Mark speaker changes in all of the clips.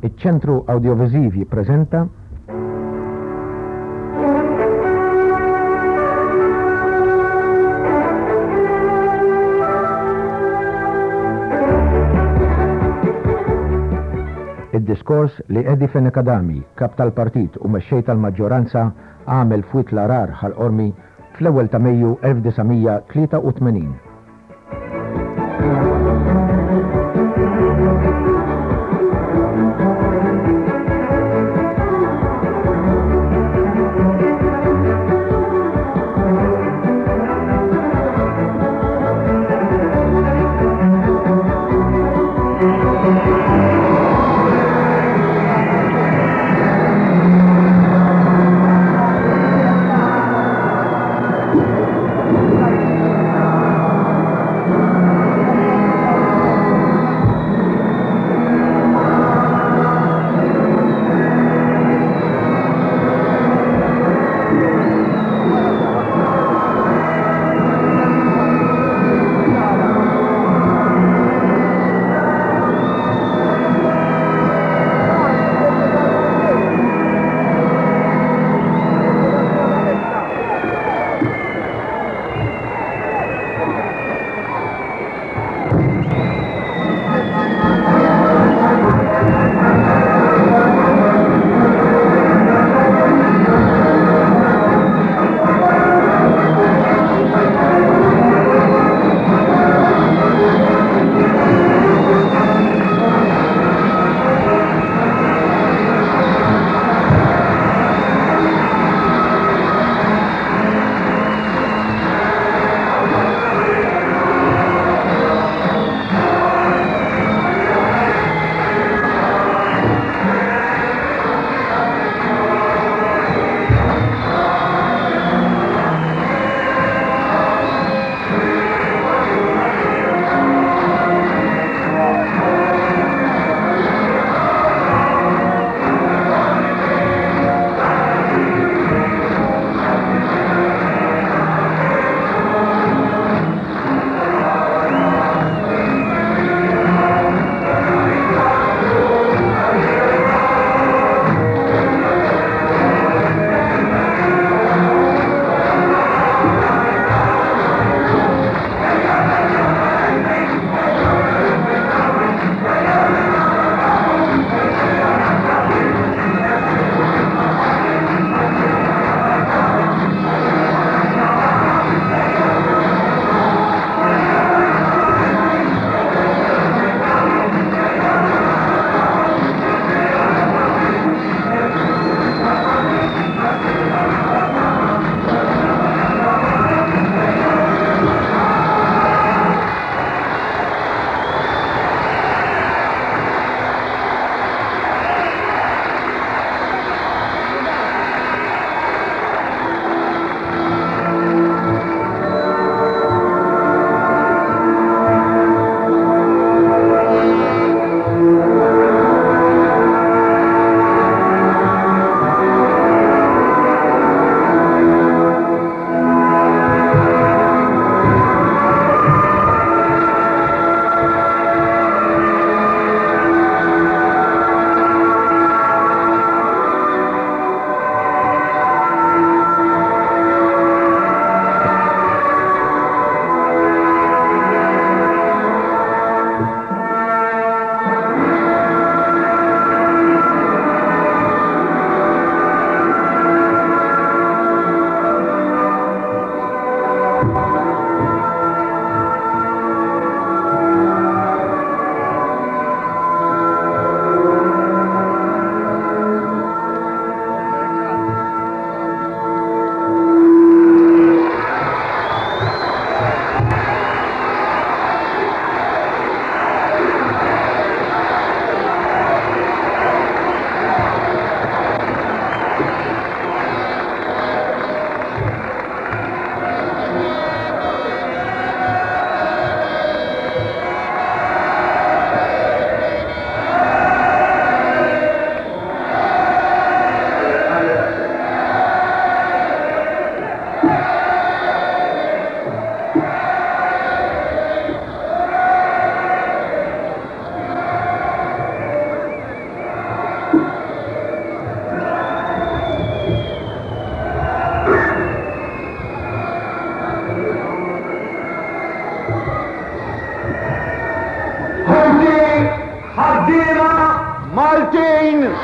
Speaker 1: Iċ-Ċentru Awdjoviżiv jippreżenta. Id-diskors li Eddie Fenech Adami, Kap tal-Partit u Mexxej tal-Maġġoranza, għamel f'Wied l-Għarar, Ħal Qormi, fl-ewwel ta' Mejju 1983.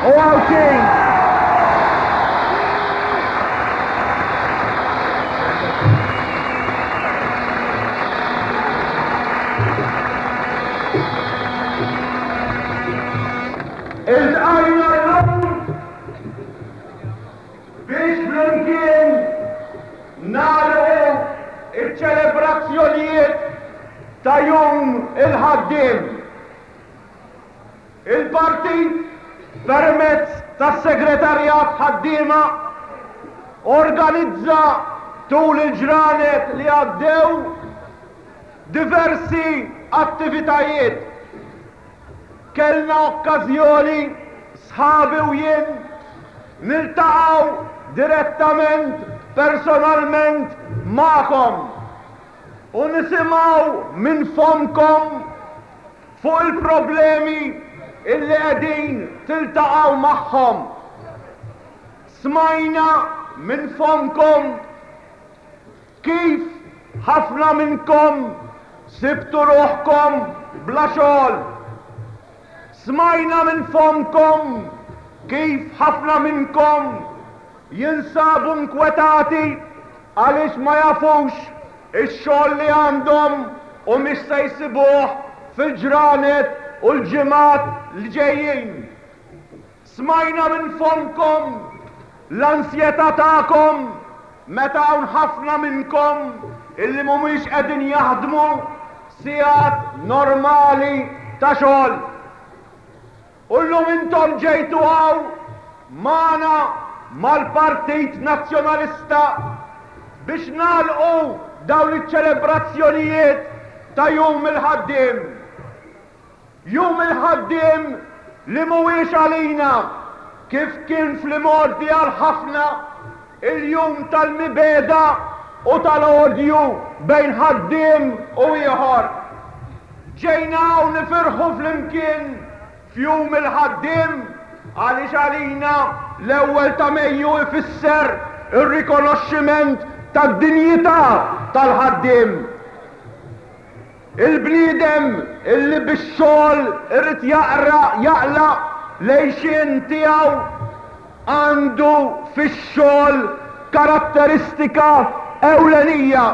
Speaker 2: u Għawdxin. Iltqajna llum biex flimkien nagħlqu ċ-ċelebrazzjonijiet ta' Jum il-Ħaddiem. Il-Partit, permezz tas-Segretarjat Ħaddiema, organizza tul il-ġranet li għaddew diversi attivitajiet. Kellna okkażjoni, sħabi u jien, niltaqgħu direttament, personalment magħkom u nisimgħu minn fommkom fuq il-problemi illi qegħdin tiltaqgħu magħhom. Smajna minn fommkom Kif ħafna minnkom sibtu ruħkom bla xogħol. Smajna minn fommkom kif ħafna minnkom jinsabu nkwetati għaliex ma jafux ix-xogħol li għandhom humiex se jsibuh fil-ġranet u l-ġimgħat li ġejjin. Smajna minn fommkom l-ansjetà tagħkom meta hawn ħafna minnkom illi mhumiex qegħdin jaħdmu sigħat normali ta' xogħol. U llum intom ġejtu hawn magħna mal-Partit Nazzjonalista biex nagħlqu dawn iċ-ċelebrazzjonijiet ta' Jum il-Ħaddiem. Jum il-Ħaddiem li mhuwiex għalina, kif kien fl-imgħoddi għal ħafna, il-jum tal-mibegħda u tal-odju bejn ħaddiem u ieħor. Ġejna hawn nifirħu flimkien f'Jum il-Ħaddiem għaliex għalina l-ewwel ta' Mejju ifisser ir-rikonoxximent tad-dinjità tal-ħaddiem. Il-bniedem illi bix-xogħol irid jaqra jaqla' l-għixien tiegħu għandu fix-xogħol karatteristika ewlenija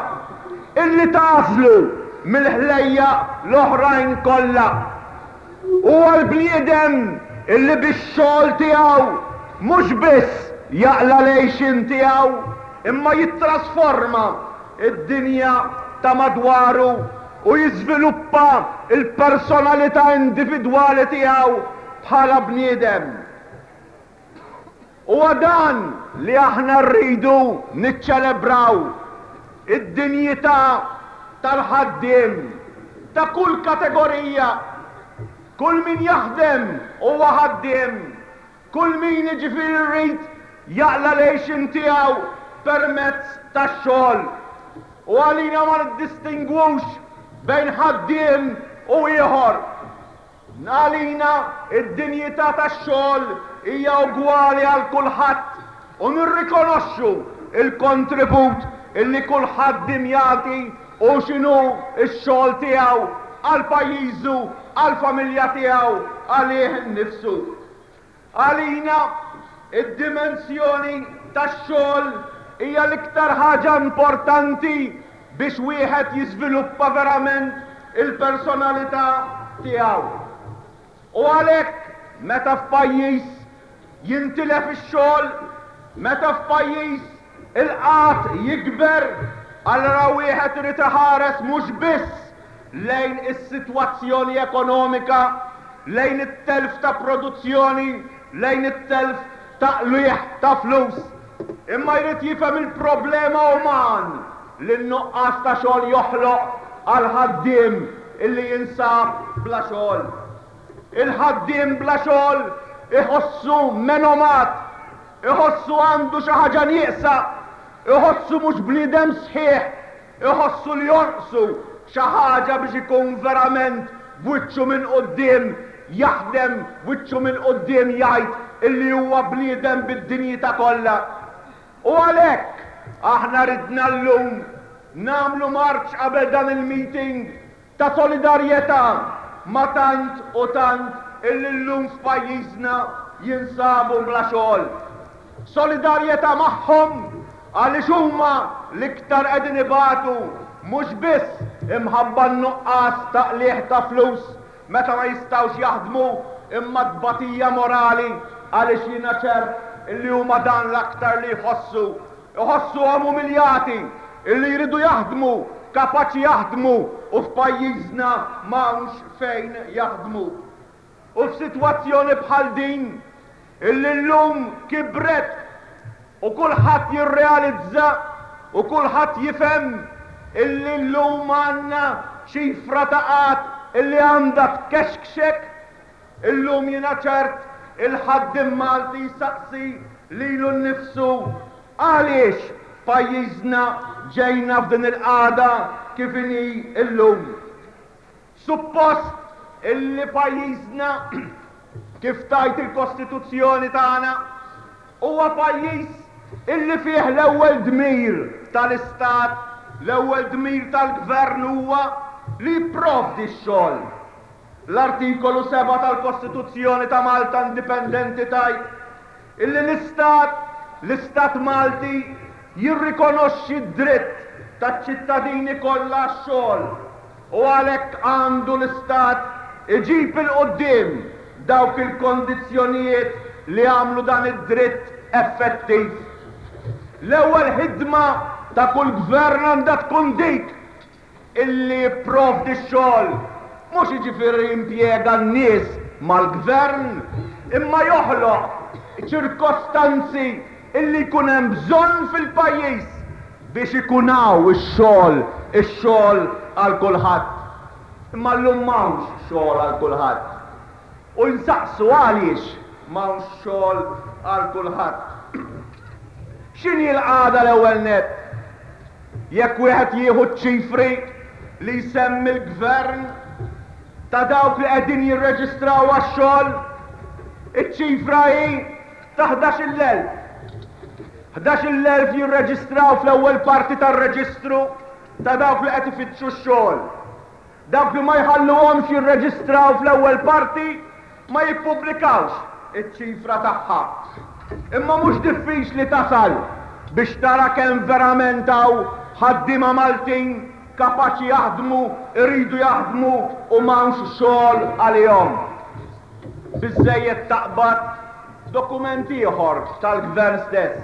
Speaker 2: illi tagħżlu mill-ħlejjaq l-oħrajn kollha. Huwa l-bniedem illi bix-xogħol tiegħu mhux biss jaqla' l-għixien tiegħu imma jittrasforma id-dinja ta' madwaru u jiżviluppa l-personalità individwali tiegħu bħala bniedem. Huwa dan li aħna rridu niċċelebraw, id-dinjità tal-ħaddiem ta' kull kategorija. Kull min jaħdem huwa ħaddiem. Kull min jiġifieri jrid jaqla' l-għixien tiegħu permezz tax-xogħol. U għalina ma niddistingwux bejn ħaddiem u ieħor. Għalina d-dinjità tax-xogħol hija ugwali għal kulħadd u nirrikonoxxu l-kontribut illi kull ħaddiem jagħti hu x'inhu x-xogħol tiegħu għal pajjiżu, għall-familja tiegħu, għalih innifsu. Għalina, id-dimensjoni tax-xogħol hija l-iktar ħaġa importanti biex wieħed jiżviluppa verament il-personalità tiegħu. U għalhekk meta f'pajjiż jintilef ix-xogħol, meta f'pajjiż il-qgħad jikber, allura wieħed irid iħares mhux biss lejn is-sitwazzjoni ekonomika, lejn it-telf ta' produzzjoni, lejn it-telf ta' qligħ ta' flus, imma jrid jifhem il-problema uman li n-nuqqas ta' xogħol joħloq għall-ħaddiem illi jinsab bla xogħol. Il-ħaddiem bla xogħol iħossu menomat, iħossu għandu xi ħaġa nieqsa, iħossu mhux bniedem sħiħ, Iħossu li jonqsu xi ħaġa biex ikun verament b'wiċċu minn quddiem jaħdem, b'wiċċu minn quddiem jgħid illi huwa bniedem bid-dinjità kollha. U għalhekk aħna ridna llum nagħmlu marċ qabel dan il-meeting ta' solidarjetà ma' tant u tant illi llum f'pajjiżna. jinsabu bla xogħol. Solidarjetà magħhom għaliex huma l-iktar qegħdin ibatu mhux biss imħabba n-nuqqas ta' qligħ ta' flus meta ma jistgħux jaħdmu imma t-tbatija morali għaliex jiena ċert illi huma dan l-aktar li jħossu. Iħossuhom umiljati illi jridu jaħdmu, kapaċi jaħdmu u f'pajjiżna m'hawnx fejn jaħdmu. U f'sitwazzjoni bħal din illi llum kibret u kulħadd jirrealizza u kulħadd jifhem illi llum għandna ċifra ta' qgħad illi għandha tkexkxek, illum jiena ċert il-ħaddiem Malti jsaqsi lilu nnifsu għaliex f'pajjiżna ġejna f'din il-qagħda kif inhi llum. Suppost illi pajjiżna, kif tgħid il-Kostituzzjoni tagħna, huwa pajjiż illi fih l-ewwel dmir tal-Istat, l-ewwel dmir tal-Gvern huwa li jipprovdi x-xogħol. L-Artikolu 7 tal-Kostituzzjoni ta' Malta Indipendenti tgħid illi l-Istat, l-Istat Malti, jirrikonoxxi d-dritt taċ-ċittadini kollha għax-xogħol u għalhekk għandu l-Istat iġib 'il quddiem dawk il-kondizzjonijiet li jagħmlu dan id-dritt effettiv. L-ewwel ħidma ta' kull gvern għandha tkun dik illi jipprovdi x-xogħol, mhux jiġifieri jimpjega n-nies mal-gvern, imma joħloq ċirkostanzi illi jkun hemm bżonn fil-pajjiż biex ikun hawn ix-xogħol, ix-xogħol għal kulħadd. Imma llum m'hawnx xogħol għal kulħadd. U nsaqsu għaliex m'hawnx xogħol għal kulħadd. X'inhi l-qagħda l-ewwel nett? Jekk wieħed jieħu ċ-ċifri li jsemmi l-Gvern ta' dawk li qegħdin jirreġistraw għax-xogħol, iċ-ċifra hi ta' 11,000. 11,000 jirreġistraw fl-ewwel parti tar-reġistru ta' dawk li qed ifittxu x-xogħol. Dawk li ma jħalluhomx jirreġistraw fl-ewwel parti ma jippubblikawx iċ-ċifra tagħha. Imma mhux diffiċli tasal biex tara kemm verament hawn ħaddiema Maltin kapaċi jaħdmu, iridu jaħdmu u m'hawnx xogħol għalihom. Biżżejjed taqbad dokument ieħor tal-Gvern stess.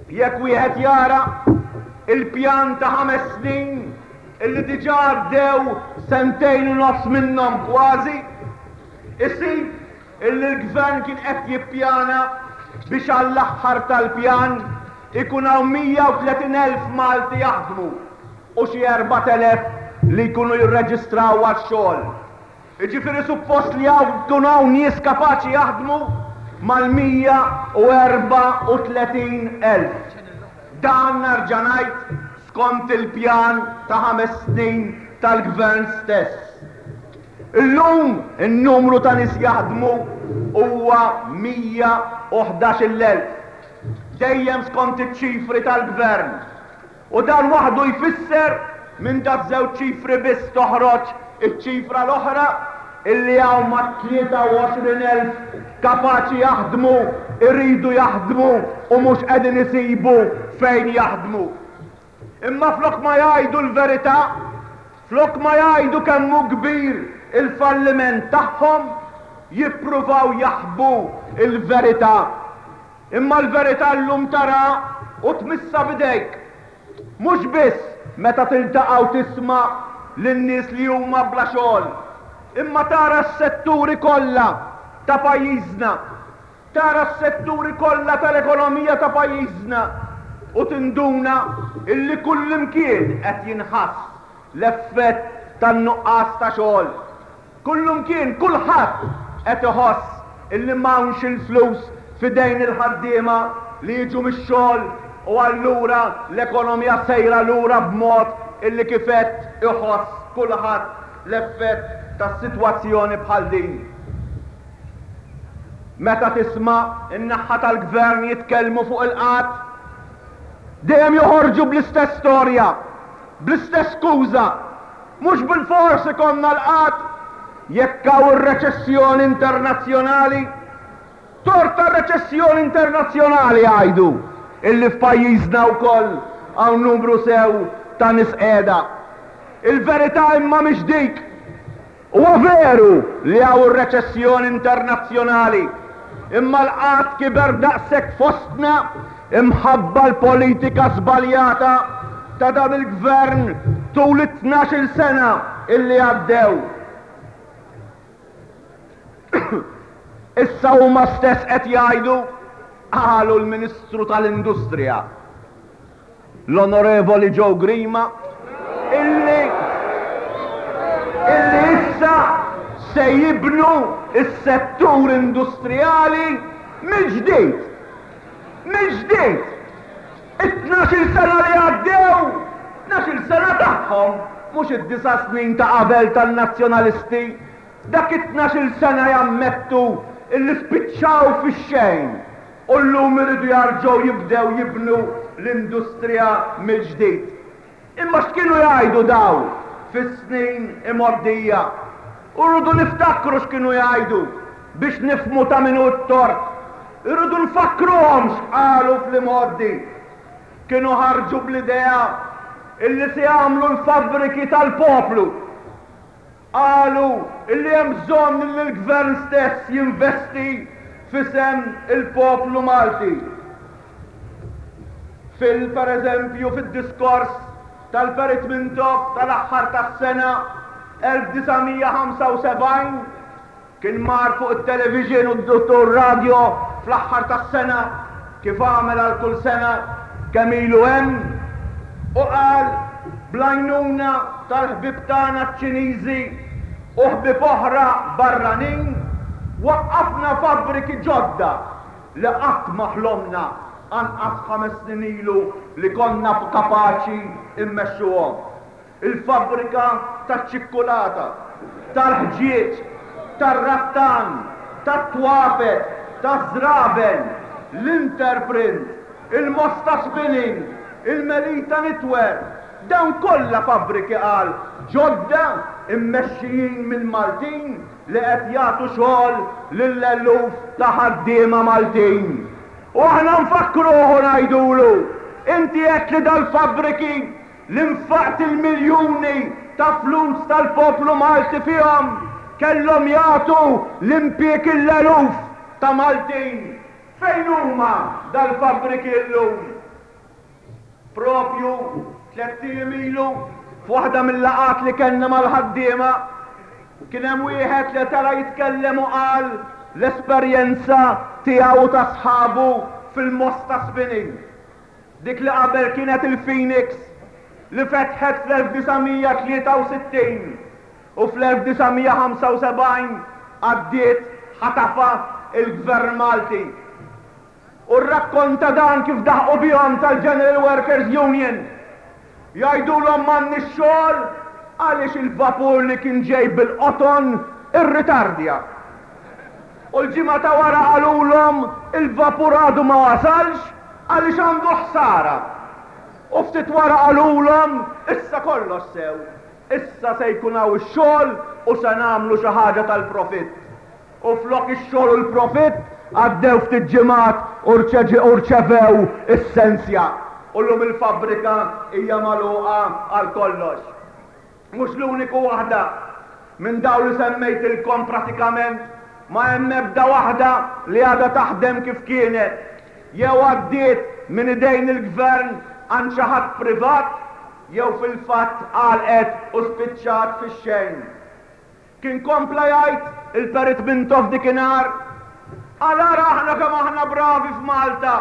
Speaker 2: Jekk wieħed jara il-pjan ta' ħames snin illi diġà għaddew sentejn u nofs minnhom kważi, isib illi l-Gvern kien qed jippjana biex għall-aħħar tal-pjan ikun hawn 130,000 Malti jaħdmu u xi 4,000 li jkunu jirreġistraw għax-xogħol. Jiġifieri suppost li hawn jkun hawn nies kapaċi jaħdmu mal-134,000. Dan nerġa' ngħid skont il-pjan ta' ħames snin tal-Gvern stess. Illum in-numru ta' nies jaħdmu huwa 111,000. Dejjem skont iċ-ċifri tal-Gvern. U dan waħdu jfisser, minn daż-żewġ ċifri biss toħroġ iċ-ċifra l-oħra, illi hawn mat-23,000 kapaċi jaħdmu, iridu jaħdmu u mhux qegħdin isibu fejn jaħdmu. Imma flok ma jgħidu l-verità, flok ma jgħidu kemm hu kbir il-falliment tagħhom, jippruvaw jaħbu l-verità. Imma l-verità llum taraha u tmissha b'idejk. Mhux biss meta tiltaqa' u tisma' lin-nies li huma bla xogħol, imma tara s-setturi kollha ta' pajjiżna, tara s-setturi kollha tal-ekonomija ta' pajjiżna u tinduna illi kullimkien qed jinħass l-effett tan-nuqqas ta' xogħol. Kullumkien, kulħadd qed iħoss illi m'hawnx il-flus f'idejn il-ħaddiema li jiġu mix-xogħol u allura l-ekonomija sejra lura b'mod illi kif għedt iħoss kulħadd l-effett ta' sitwazzjoni bħal din. Meta tisma' n-naħa tal-Gvern jitkellmu fuq il-qgħad, dejjem joħorġu bl-istess storja, bl-istess skuża, Mhux bilfors ikollna l-qgħad. jekk hawn ir-reċessjoni internazzjonali? Tort tar-reċessjoni internazzjonali jgħidu illi f'pajjiżna wkoll hawn numru sew ta' nies qiegħda. Il-verità imma mhix dik. Huwa veru li hawn ir-reċessjoni internazzjonali, imma l-qgħad kiber daqshekk fostna imħabba l-politika żbaljata ta' dan il-Gvern tul it-tnax-il sena illi għaddew. Issa huma stess qed jgħidu, qalu l-Ministru tal-Industrija, l-Onorevoli Joe Grima, illi illi issa se jibnu s-settur industrijali mill-ġdid. Mill-ġdid! It-tnax-il sena li għaddew, tnax-il sena tagħhom, mhux id-disa' snin ta' qabel tan-Nazzjonalisti, dak it-tnax-il sena jammettu illi spiċċaw fix-xejn u llum iridu jarġgħu jibdew jibnu l-industrija mill-ġdid. Imma x'kienu jgħidu dawn fis-snin imgħoddija? U rridu niftakru x'kienu jgħidu biex nifhmu ta' min hu t-tort. Irridu nfakkruhom x'qalu fl-imgħoddi. Kienu ħarġu bl-idea illi se jagħmlu l-fabbriki tal-poplu. Qalu illi hemm bżonn illi l-Gvern stess jinvesti f'isem il-poplu Malti. Fil, per eżempju, fid-diskors tal-Perit Mintoff tal-aħħar tas-sena 1975, Kien mar fuq it-television u r-radio fl-aħħar tas-sena, kif għamel għal kull sena kemm ilu hemm, u qal, Bl-għajnuna tal-ħbieb tagħna ċ-Ċiniżi u ħbieb oħra barranin, waqqafna fabbriki ġodda li qatt ma ħlomna anqas ħames snin ilu li konna kapaċi mmexxuhom. Il-fabbrika taċ-ċikkulata, tal-ħġieġ, tar-rattan, tat-twapet, taż-żraben, l-Interprint, il-Mosta Spinning, il-Melita Knitwear, dawn kollha fabbriki qal ġodda mmexxijin minn Maltin li qed jagħtu xogħol lil eluf ta' ħaddiema Maltin. U aħna nfakkruh u ngħidulu, inti għedt li dal-fabbriki li nfaqt il-miljuni ta' flus tal-poplu Malti fihom kellhom jagħtu l-impieg l-eluf ta' Maltin. Fejn huma dal-fabbriki llum? Propju tlett ijiem ilu, f'waħda mil-laqgħat li kellna mal-ħaddiema, kien hemm wieħed li tela' jitkellem u qal l-esperjenza tiegħu u ta' sħabu fil-Mosta Spinning. Dik li qabel kienet il-Phoenix li fetħet fl-1963 u fl-1975 għaddiet ħatafha il-Gvern Malti. U rrakkonta dan kif daħqu bihom tal-General Workers Union. Jgħidulhom m'għandniex xogħol għaliex il-vapur li kien ġej bil-qoton irritardja. U l-ġimgħa ta' wara qalulhom il-vapur għadu ma wasalx għaliex għandu ħsara. U ftit wara qalulhom issa kollox sew, issa se jkun hawn ix-xogħol u se nagħmlu xi ħaġa tal-profitt. U flok ix-xogħol u l-profitt għaddew ftit ġimgħat u rċevew is-sensja. U llum il-fabbrika hija magħluqa għal kollox. Mhux l-uniku waħda. Minn dawn li semmejtilkom pratikament ma hemm ebda waħda li għadha taħdem kif kienet. Jew għaddiet minn idejn il-Gvern għand xi ħadd privat jew fil-fatt għalqet u spiċċat fix-xejn. Kien kompla jgħid il-Perit Mintoff dikinhar, Qal ara aħna kemm aħna bravi f'Malta.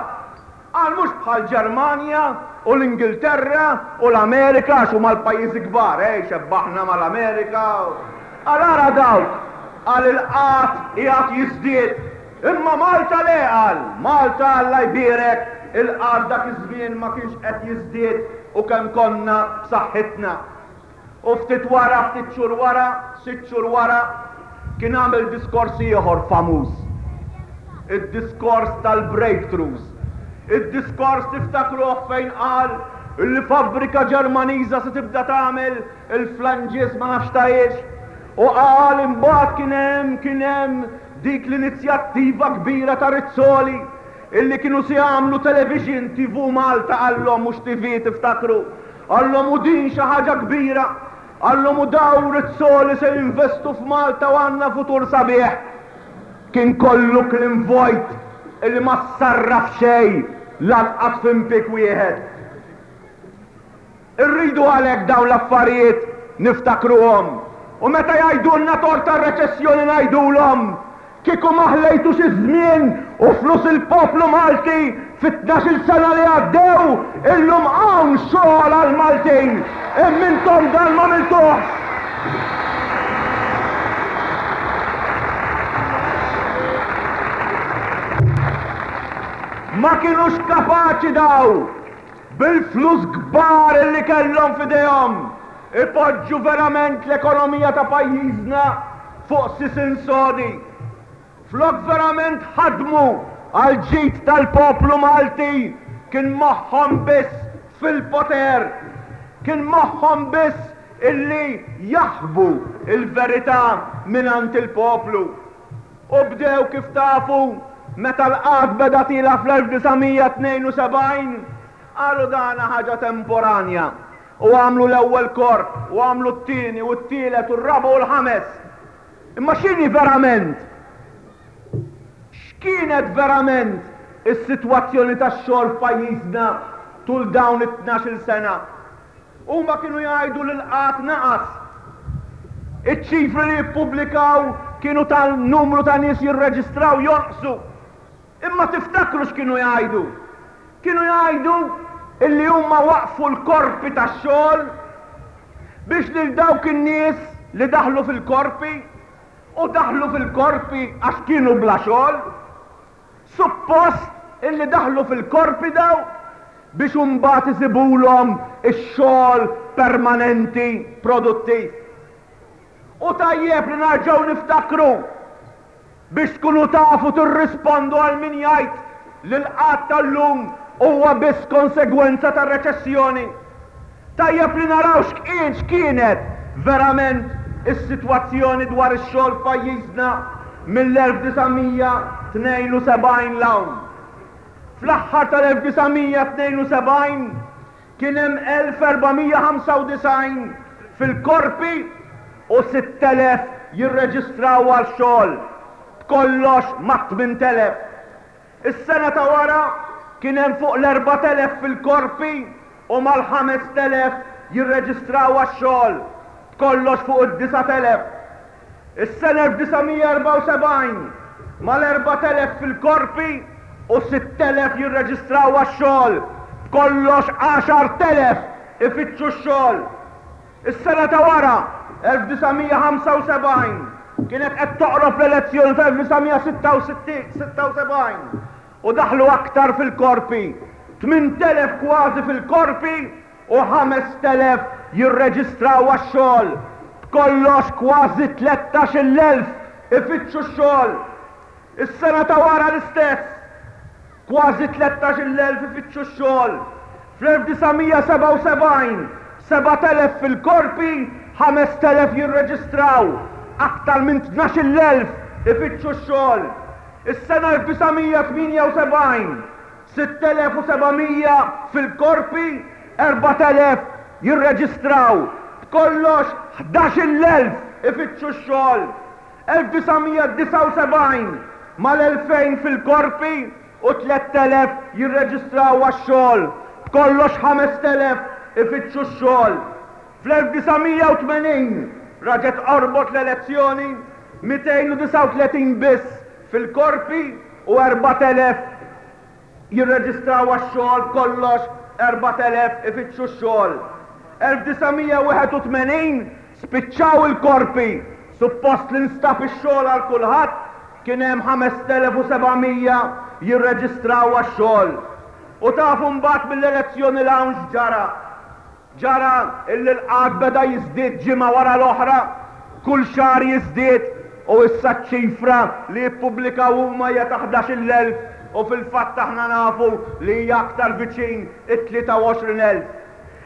Speaker 2: Qal mhux bħall-Ġermanja u l-Ingilterra u l-Amerika għax huma l-pajjiżi kbar, eh, xebbaħna mal-Amerika. Qal ara dawk, qal il-qgħad qiegħed jiżdied. Imma Malta le qal, Malta Alla jbierek, il-qgħad dak iż-żmien ma kienx qed jiżdied u kemm konna b'saħħitna. U ftit wara, ftit xhur wara, sitt xhur wara, kien għamel diskors ieħor famuż. Id-diskors tal-breakthroughs. Id-diskors tiftakruh fejn qal li fabbrika Ġermaniża se tibda tagħmel il-flanges ma nafx ta' iex. U qal imbagħad kien hemm kien hemm dik l-inizjattiva kbira ta' Rizzoli illi kienu se jagħmlu television TV Malta qallhom mhux TV tiftakru. Qallhom u din xi ħaġa kbira. Qallhom u daw Rizzoli se jinvestu f'Malta u għandna futur sabiħ. Kien kollu kliem vojt illi ma ssarraf xejn lanqas f'impieg wieħed. Irridu għalhekk dawn l-affarijiet niftakruhom. U meta jgħidulna tort tar-reċessjoni ngħidulhom, kieku ma ħlejtux iż-żmien u flus il-poplu Malti fit-tnax-il sena li għaddew, illum hawn xogħol għall-Maltin. Imma intom dan m'għamiltuhx. Ma kinux kapaċi daw bil-flus kbar li kellhom f'idejhom, ipoġġu verament l-ekonomija ta' pajjiżna fuq sisien sodi. Flok verament ħadmu għall-ġid tal-poplu Malti, kien moħħhom biss fil-poter. Kien moħħhom biss illi jaħbu l-verità mingħand il-poplu. U bdew kif tafu meta l-qgħad beda tiela' fl-1972, qalu dana ħaġa temporanja u għamlu l-ewwel korp u għamlu t-tieni u t-tielet u r-raba' u l-ħames. Imma x'inhi verament? X'kienet verament is-sitwazzjoni tax-xogħol f'pajjiżna tul dawn it-tnax-il sena? Huma kienu jgħidu li l-qgħad naqas. Iċ-ċifri li jippubblikaw kienu ta' numru ta' nies jirreġistraw jonqsu. Imma tiftakru x'kienu jgħidu? Kienu jgħidu illi huma waqqfu l-korpi tax-xogħol biex lil dawk in-nies li daħlu fil-korpi u daħlu fil-korpi għax kienu bla xogħol, Suppost illi daħlu fil-korpi daw biex imbagħad isibulhom ix-xogħol permanenti produttiv. U tajjeb li narġgħu niftakru biex tkunu tafu tirrispondu għal min jgħid li l-qgħad tal-lum huwa biss konsegwenza tar-reċessjoni. Tajjeb li naraw x'kien x'kienet verament is-sitwazzjoni dwar ix-xogħol f'pajjiżna mill-1972 'l hawn. Fl-aħħar tal-1972 kien hemm 1,495 fil-korpi u 6,000 jirreġistraw għal xogħol, b'kollox mat-8,000. Is-sena ta' wara kien hemm fuq l-4,000 fil-korpi u mal-5,000 jirreġistraw għax-xogħol, b'kollox fuq id-9,000. Is-sena 1974, mal-4,000 fil-korpi u 6,000 jirreġistraw għax-xogħol, b'kollox 10,000 ifittxu x-xogħol. Is-sena ta' wara, 1975, kienet qed toqrob l-elezzjoni tal-1976 u daħlu aktar fil-korpi, 8,000 kważi fil-korpi u 5,000 jirreġistraw għax-xogħol. B'kollox kważi 13,000 ifittxu x-xogħol. Is-sena ta' wara l-istess, kważi 13,000 ifittxu x-xogħol. Fl-1977, 7,000 fil-korpi, 5,000 jirreġistraw, aktar minn 12,000 ifittxu x-xogħol. Is-sena 1978, 6,700 fil-korpi, 4,000 jirreġistraw, b'kollox 11,000 ifittxu x-xogħol. 1979, mal-2,000 fil-korpi u 3,000 jirreġistraw għax-xogħol, b'kollox 5,000 ifittxu x-xogħol. Fl-1980 raġgħet qorbot l-elezzjoni, 239 biss fil-korpi u 4,000 jirreġistraw għax-xogħol, b'kollox 4,000 ifittxu x-xogħol. 1981 spiċċaw il-korpi, suppost li nstab ix-xogħol għal kulħadd, kien hemm 5,700 jirreġistraw għax-xogħol. U tafu mbagħad mill-elezzjoni 'l hawn x'ġara? Ġara illi l-qgħad beda jiżdied ġimgħa wara l-oħra, kull xahar jiżdied u issa ċ-ċifra li jippubblikaw huma hija ta' 11,000 u fil-fatt aħna nafu li hija aktar viċin it-23,000.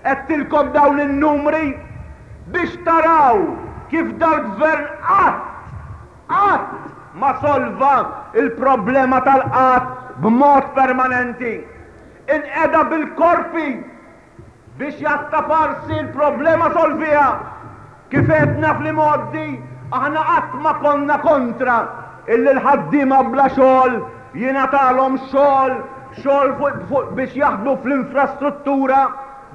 Speaker 2: Għedtilkom dawn in-numri biex taraw. kif dal-Gvern qatt, qatt ma solva l-problema tal-qgħad b'mod permanenti. Inqeda bil-korpi biex jattaparsi l-problema solviha. Kif għedna fl-imgħoddi, aħna qatt ma konna kontra illi l-ħaddiema bla xogħol jingħatalhom xogħol, xogħol fuq biex jaħdmu fl-infrastruttura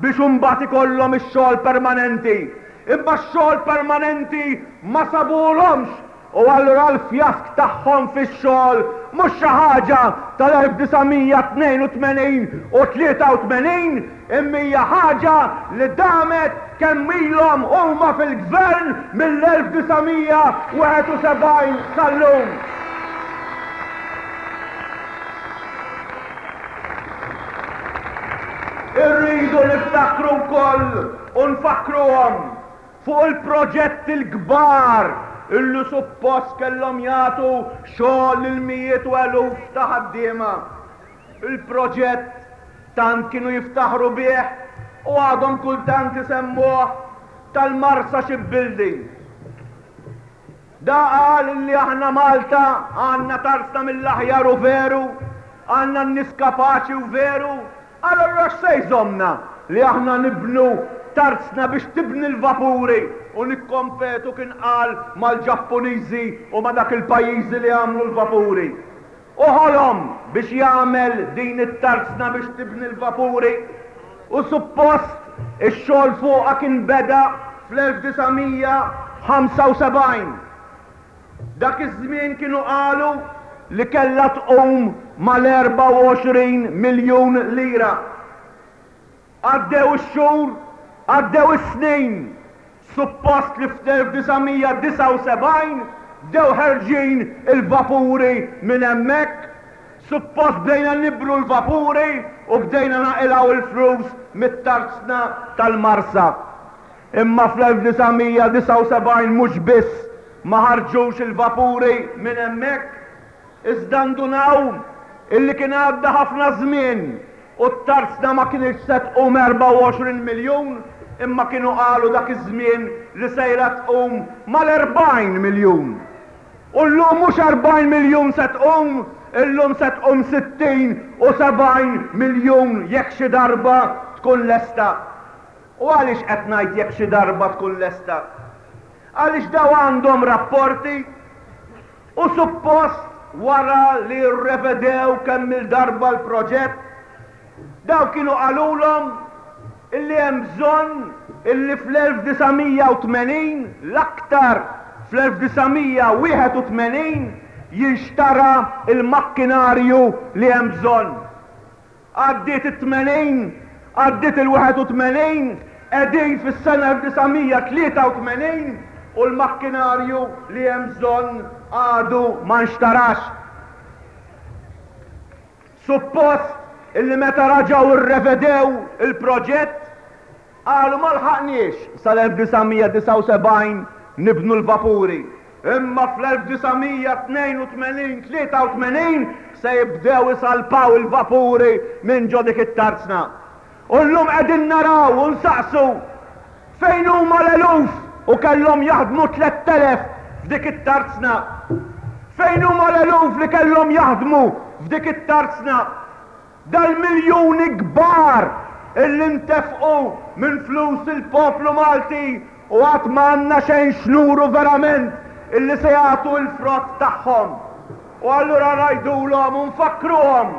Speaker 2: biex imbagħad ikollhom ix-xogħol permanenti. Imma x-xogħol permanenti ma sabuhulhomx U allura l-fjask tagħhom fix-xogħol mhux xi ħaġa tal-1982 u 83 imma hija ħaġa li damet kemm ilhom huma fil-Gvern mill-1971 sal-lum. Irridu niftakru wkoll u nfakkruhom fuq il-proġetti l-kbar illi suppost kellhom jagħtu xogħol lil mijiet u eluf ta' ħaddiema. Il-proġett tant kienu jiftaħru bih u għadhom kultant isemmuh tal-Marsa Shipbuilding. Da qal illi aħna Malta għandna tarsna mill-aħjar u veru, għandna n-nies kapaċi u veru, allura x'se jżommna li aħna nibnu tarzna biex tibni l-vapuri u nikkompetu kien qal mal-Ġappuniżi u ma' dak il-pajjiżi li għamlu l-vapuri. U ħolom biex jagħmel din it-tarzna biex tibni l-vapuri u suppost ix-xogħol fuqha kien beda fl-1975. Dak iż-żmien kienu qalu li kellha tqum mal-24 miljun lira. Għaddew ix-xhur, għaddew is-snin. Suppost li fl-1979 bdew ħerġin il-vapuri minn hemmhekk. Suppost bdejna nibnu l-vapuri u bdejna naqilgħu l-flus mit-tarzna tal-Marsa. Imma fl-1979 mhux biss ma ħarġux il-vapuri minn hemmhekk, iżda ndunaw illi kien għadda ħafna żmien U t-tarzna ma kinitx se tqum 24 miljun, imma kienu qalu dak iż-żmien li sejra tqum mal-40 miljun. U llum mhux 40 miljun se tqum, illum se tqum 60 u 70 miljun jekk xi darba tkun lesta. U għaliex qed ngħid jekk xi darba tkun lesta? Għaliex daw għandhom rapporti U suppost wara li rrevedew kemm-il darba l-proġett, dawn kienu qalulhom illi hemm bżonn illi fl-1980, l-aktar fl-1981, jinxtara l-makkinarju li hemm bżonn. Għaddiet it-80, għaddiet il-81, qegħdin fis-sena 1983 u l-makkinarju li hemm bżonn għadu ma nxtarax. Suppost illi meta raġgħu rrevedew il-proġett, Qalu ma lħaqniex sal-1979 nibnu l-vapuri, imma fl-1982, 83 se jibdew isalpaw il-vapuri minn ġo dik it-tarzna. U llum qegħdin naraw u nsaqsu fejn huma l-eluf u kellhom jaħdmu 3,000 f'dik it-tarzna? Fejn huma l-eluf li kellhom jaħdmu f'dik it-tarzna? Dal-miljuni kbar illi ntefqu minn flus il-poplu Malti u għad ma għandna xejn x'nuru verament illi se jagħtu l-frott tagħhom. U allura ngħidulhom u nfakkruhom,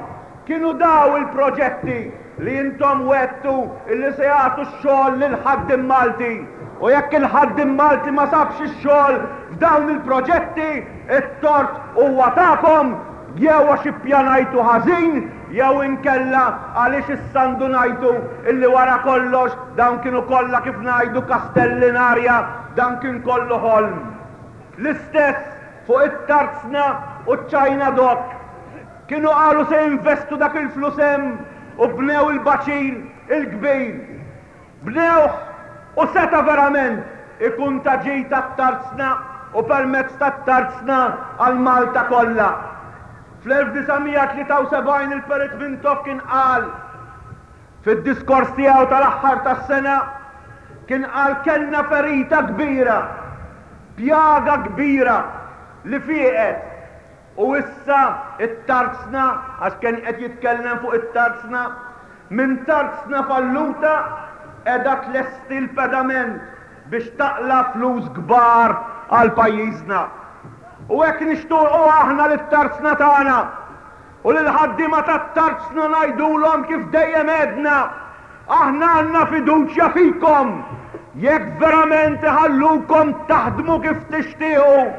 Speaker 2: kienu daw il-proġetti li intom wegħdtu illi se jagħtu x-xogħol lill-ħaddiem Malti. U jekk il-ħaddiem Malti ma sabx ix-xogħol f'dawn il-proġetti, it-tort huwa tagħkom Jew għax ippjanajtu ħażin jew inkella għaliex issa ndunajtu illi wara kollox dawn kienu kollha kif ngħidu kastelli in arja, dan kien kollu ħolm. L-istess fuq it-tarzna u ċ-China Dock. Kienu qalu se jinvestu dak il-flus hemm u bnew il-baċir il-kbir. Bnewh u seta' verament ikun ta' ġid għat-tarzna u permezz tat-tarzna għal Malta kollha. Fl-1973 il-Perit Mintoff kien qal fid-diskors tiegħu tal-aħħar tas-sena kien qal kellna ferita kbira. Pjaga kbira li fieqet u issa t-tarzna, għax kien qed jitkellem fuq it-tarzna, minn tarzna falluta qiegħda tlesti l-pedament biex taqla' flus kbar għal pajjiżna. U hekk nixtuqu aħna lit-tarzna tagħna u lill-ħaddiema tat-tarzna ngħidulhom kif dejjem għedna, Aħna għandna fiduċja fikom jekk verament iħallukom taħdmu kif tixtiequ,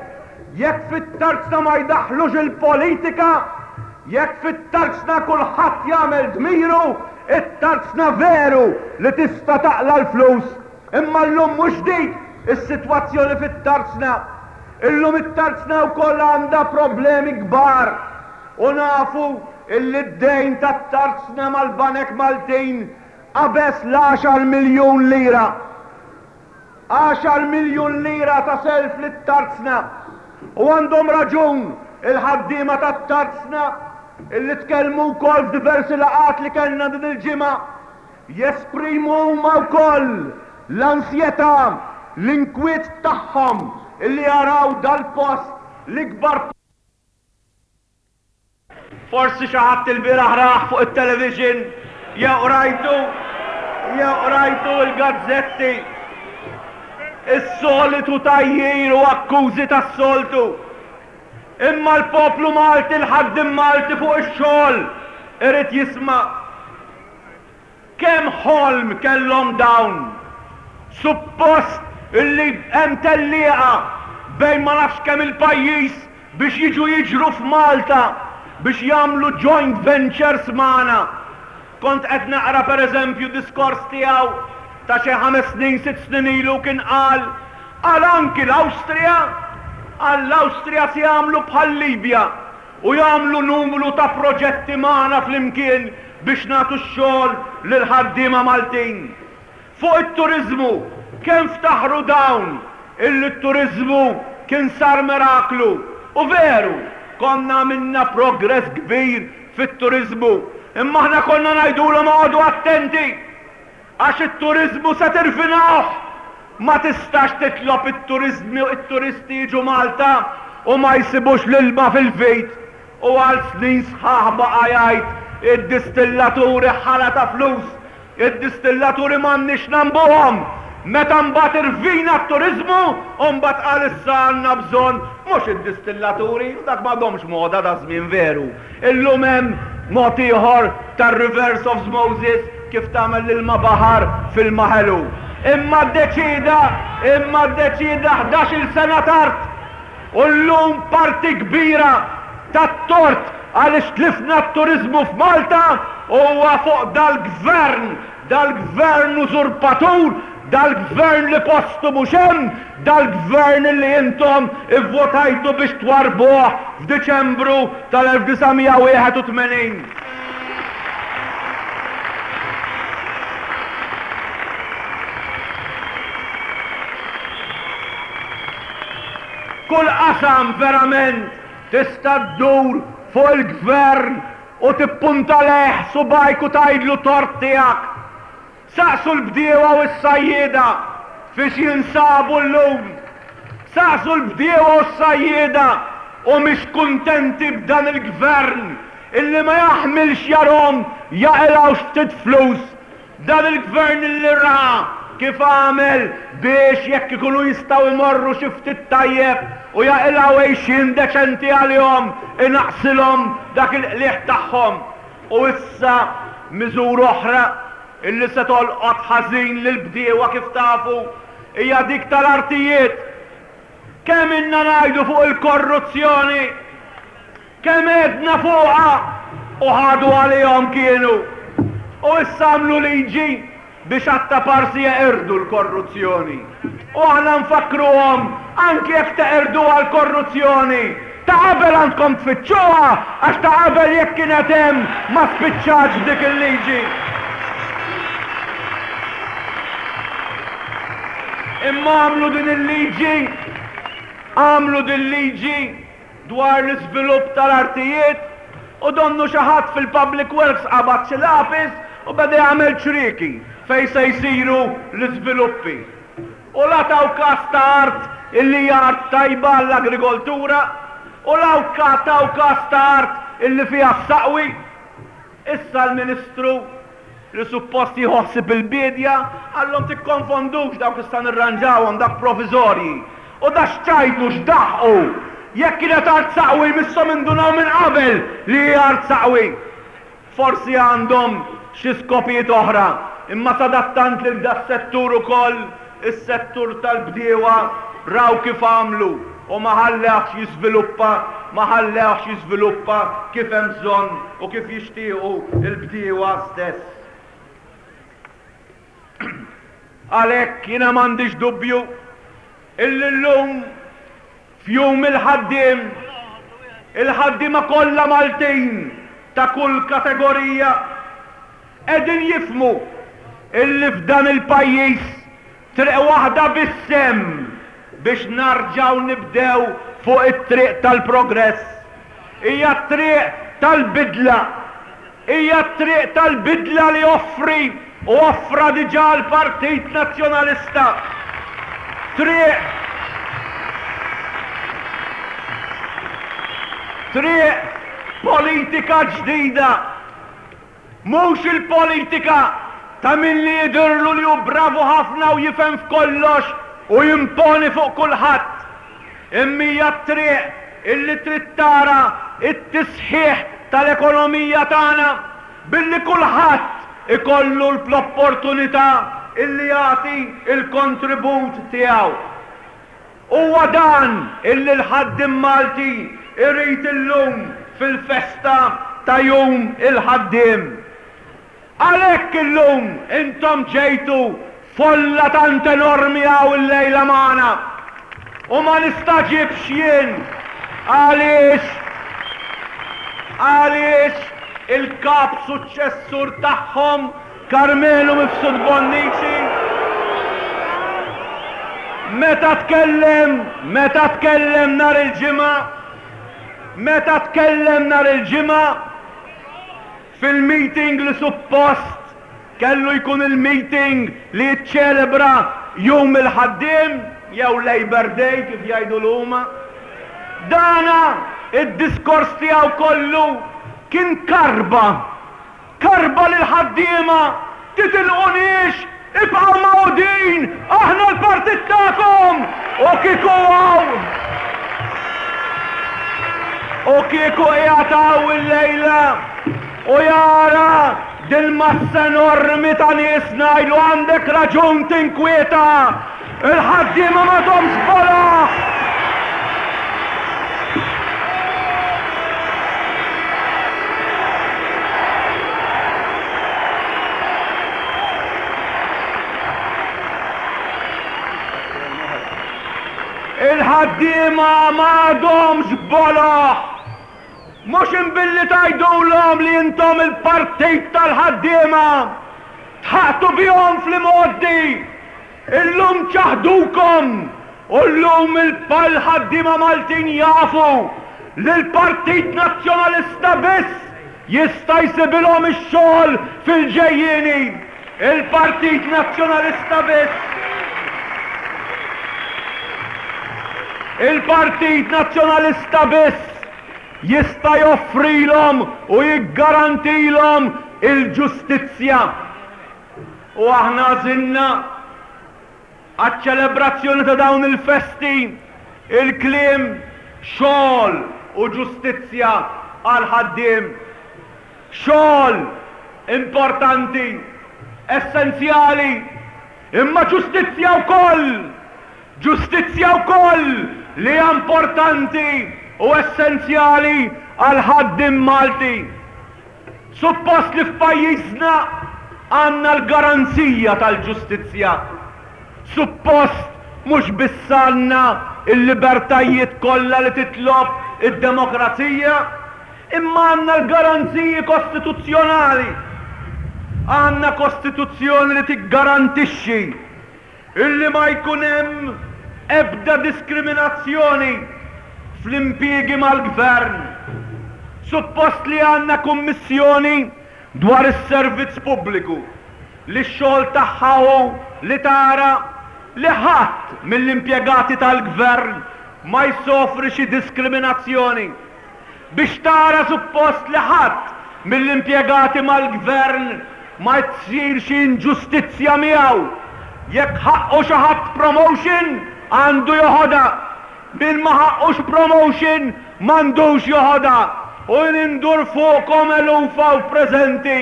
Speaker 2: jekk fit-tarzna ma jdaħħlux il-politika, jekk fit-tarzna kulħadd jagħmel dmiru, it-tarzna veru li tista' taqla' l-flus. Imma llum mhux dik is-sitwazzjoni fit-tarzna. Illum it-tarzna wkoll għandha problemi kbar. U nafu illi d-dejn tat-tarzna mal-banek Maltin qabeż l-għaxar miljun lira. Għaxar miljun lira ta' self lit-tarzna. U għandhom raġun il-ħaddiema tat-tarzna illi tkellmu wkoll f'diversi laqgħat li kellna din il-ġimgħa, jesprimu huma wkoll l-ansjetà, l-inkwiet tagħhom illi jaraw dal-post l-ikbar Forsi xi ħadd ilbieraħ rah fuq it-television jew qrajtu jew qrajtu l-gazzetti. Is-solitu tgħajjir u akkużi tas-soltu. Imma l-poplu Malti, l-ħaddiem Malti fuq ix-xogħol irid jisma'. Kemm ħolm kellhom dawn! Suppost illi hemm tellieqa bejn ma nafx kemm il-pajjiż biex jiġu jiġru f'Malta biex jagħmlu joint ventures magħna. Kont qed naqra per eżempju diskors tiegħu ta' xi ħames snin, sitt snin ilu kien qal, qal anki l-Awstrija, qal l-Awstrija se jagħmlu bħal-Libja. u jagħmlu numru ta' proġetti magħna flimkien biex nagħtu x-xogħol lill-ħaddiema Maltin. Fuq it-turiżmu, kemm ftaħru dawn illi t-turiżmu kien sar miraklu. U veru, konna għamilna progress kbir fit-turiżmu, imma aħna konna ngħidulhom oqogħdu attenti! Għax it-turiżmu se tirvinawh! Ma tistax titlob it-turiżmi it-turisti jiġu Malta u ma jsibux l-ilma fil-vit. U għal snin sħaħ baqa' jgħid id-distillaturi ħala ta' flus, id-distillaturi m'għandniex nagħmbuhom. Meta mbagħad irvina t-turiżmu u mbagħad qal issa għandna bżonn mhux id-distillaturi, u dak m'għadhomx moda daż-żmien veru. Illum hemm mod ieħor tar-reverse osmosis kif tagħmel l-ilma baħar f'ilma ħelu. Imma ddeċieda, imma ddeċieda ħdax-il sena tard. U llum parti kbira tat-tort għaliex tlifna t-turiżmu f'Malta huwa fuq dal-Gvern Dal-Gvern użurpatur, dal-Gvern li postu mhux hemm, dal-Gvern li intom ivvotajtu biex twarrbuh f'Diċembru tal-1981. Kull qasam verament tista' ddur fuq il-Gvern U tippunta lejh subgħajk u tgħidlu tort tiegħek. Saqsu l-bdiewa u s-sajjieda fiex jinsabu llum. Saqsu l-bdiewa u s-sajjieda humiex kuntenti b'dan il-Gvern illi ma jaħmilx jarhom jaqilgħu ftit flus Dan il-Gvern li ra kif għamel biex jekk ikunu jistgħu jmorru xi ftit tajjeb u jaqilgħu għixien deċenti għalihom inaqqsilhom dak il-qligħ tagħhom. U issa miżura oħra illi se tolqot ħażin lill-bdiewa kif tafu hija dik tal-artijiet. Kemm ilna ngħidu fuq il-korruzzjoni? Kemm għedna fuqha u ħadu għalihom kienu. U issa għamlu liġi biex għat-taparsi jeqirdu l-korruzzjoni. U aħna nfakkruhom anki jekk teqirduha l-korruzzjoni, ta' qabel għandkom tfittxuha għax ta' qabel jekk kienet hemm ma spiċċatx b'dik il-liġi. Imma għamlu din il-liġi, għamlu din liġi dwar l-iżvilupp tal-artijiet u donnu xi ħadd fil-Public Works qabad xi lapis u beda jagħmel ċrieki fejn se jsiru l-iżviluppi. U la taw kas ta' art illi hija art tajba għall-agrikoltura u la taw kas ta' art illi fiha s-saqwi. Issa l-Ministru li suppost jieħu ħsieb il-biedja qallhom tikkonfondux dawk issa nirranġawhom dak proviżorji. U da x'ċajtu x'daħqu! Jekk kienet art saqwi jmisshom indunaw minn qabel li hi art saqwi. Forsi għandhom xi skopijiet oħra, imma sadattant lil das-settur ukoll, is-settur tal-bdiewa, raw kif għamlu u ma ħallewhx jiżviluppa, ma ħallewhx jiżviluppa kif hemm bżonn u kif jixtiequ l-bdiewa stess. Għalhekk jiena m'għandix dubju illi llum F'Jum il-Ħaddiem, il-ħaddiema kollha Maltin ta' kull kategorija qegħdin jifhmu illi f'dan il-pajjiż triq waħda biss hemm biex narġgħu nibdew fuq it-triq tal-progress. Hija t-triq tal-bidla. Hija t-triq tal-bidla li joffri u offra diġà l-Partit Nazzjonalista. Triq Triq politika ġdida. Mhux il-politika ta' min li jidhirlu li hu bravu ħafna u jifhem f'kollox u jimponi fuq kulħadd. Imma hija t-triq illi trid tara t-tisħiħ tal-ekonomija tagħna billi kulħadd ikollu l-opportunità illi jagħti l-kontribut tiegħu. Huwa dan illi l-ħaddiem Malti jrid illum fil-festa ta' Jum il-Ħaddiem. Għalhekk illum intom ġejtu folla tant enormi hawn illejla magħna. U ma nistagħġibx jien għaliex għaliex il-kap suċċessur tagħhom Karmenu Mifsud Bonnici meta tkellem meta tkellem nhar il-Ġimgħa meta tkellem nhar il-Ġimgħa Fil-meeting li suppost kellu jkun il-meeting li jiċċelebra Jum il-Ħaddiem jew Labour Day kif jgħidulu huma, dana id-diskors tiegħu kollu kien karba, karba lill-ħaddiema, titilquniex, ibqgħu magħqudin, aħna l-partit tagħkom! U kieku hawn, u kieku qiegħed hawn illejla u jara dil-massa enormi ta' nies ngħidlu għandek raġun tinkwieta, il-ħaddiema m'għadhomx boloh! Il-ħaddiema m'għadhomx boloh! Mhux imbilli tgħidulhom li intom il-partit tal-ħaddiema! Dħaqtu bihom fl-imgħoddi! Illum ċaħdukom u llum il-ħaddiema Maltin jafu li l-Partit Nazzjonalista biss jista' jsibilhom ix-xogħol fil-ġejjieni. Il-Partit Nazzjonalista biss. Il-Partit Nazzjonalista biss jista' joffrilhom u jiggarantilhom il-ġustizzja. U aħna għażilna għaċ-ċelebrazzjoni ta' dawn il-festi il-kliem xogħol u ġustizzja għall-ħaddiem. Xogħol importanti, essenzjali, imma ġustizzja wkoll! Ġustizzja wkoll li hija importanti u essenzjali għall-ħaddiem Malti. Suppost li f'pajjiżna għandna l-garanzija tal-ġustizzja. Suppost mhux biss għandna l-libertajiet kollha li titlob id-demokrazija, imma għandna l-garanziji kostituzzjonali. Għandna kostituzzjoni li tiggarantixxi Illi ma jkun hemm ebda diskriminazzjoni fl-impjiegi mal-Gvern. Suppost li għandna Kummissjoni dwar is-Servizz Pubbliku li x-xogħol tagħha hu li tara. li ħadd mill-impjegati tal-Gvern ma jsofri xi diskriminazzjoni. Biex tara suppost li ħadd mill-impjegati mal-Gvern ma tsir xi inġustizzja miegħu. Jekk ħaqqu xi ħadd promotion, għandu joħodha. Min ma ħaqqux promotion m'għandux joħodha. U jien indur fuqkom eluf hawn preżenti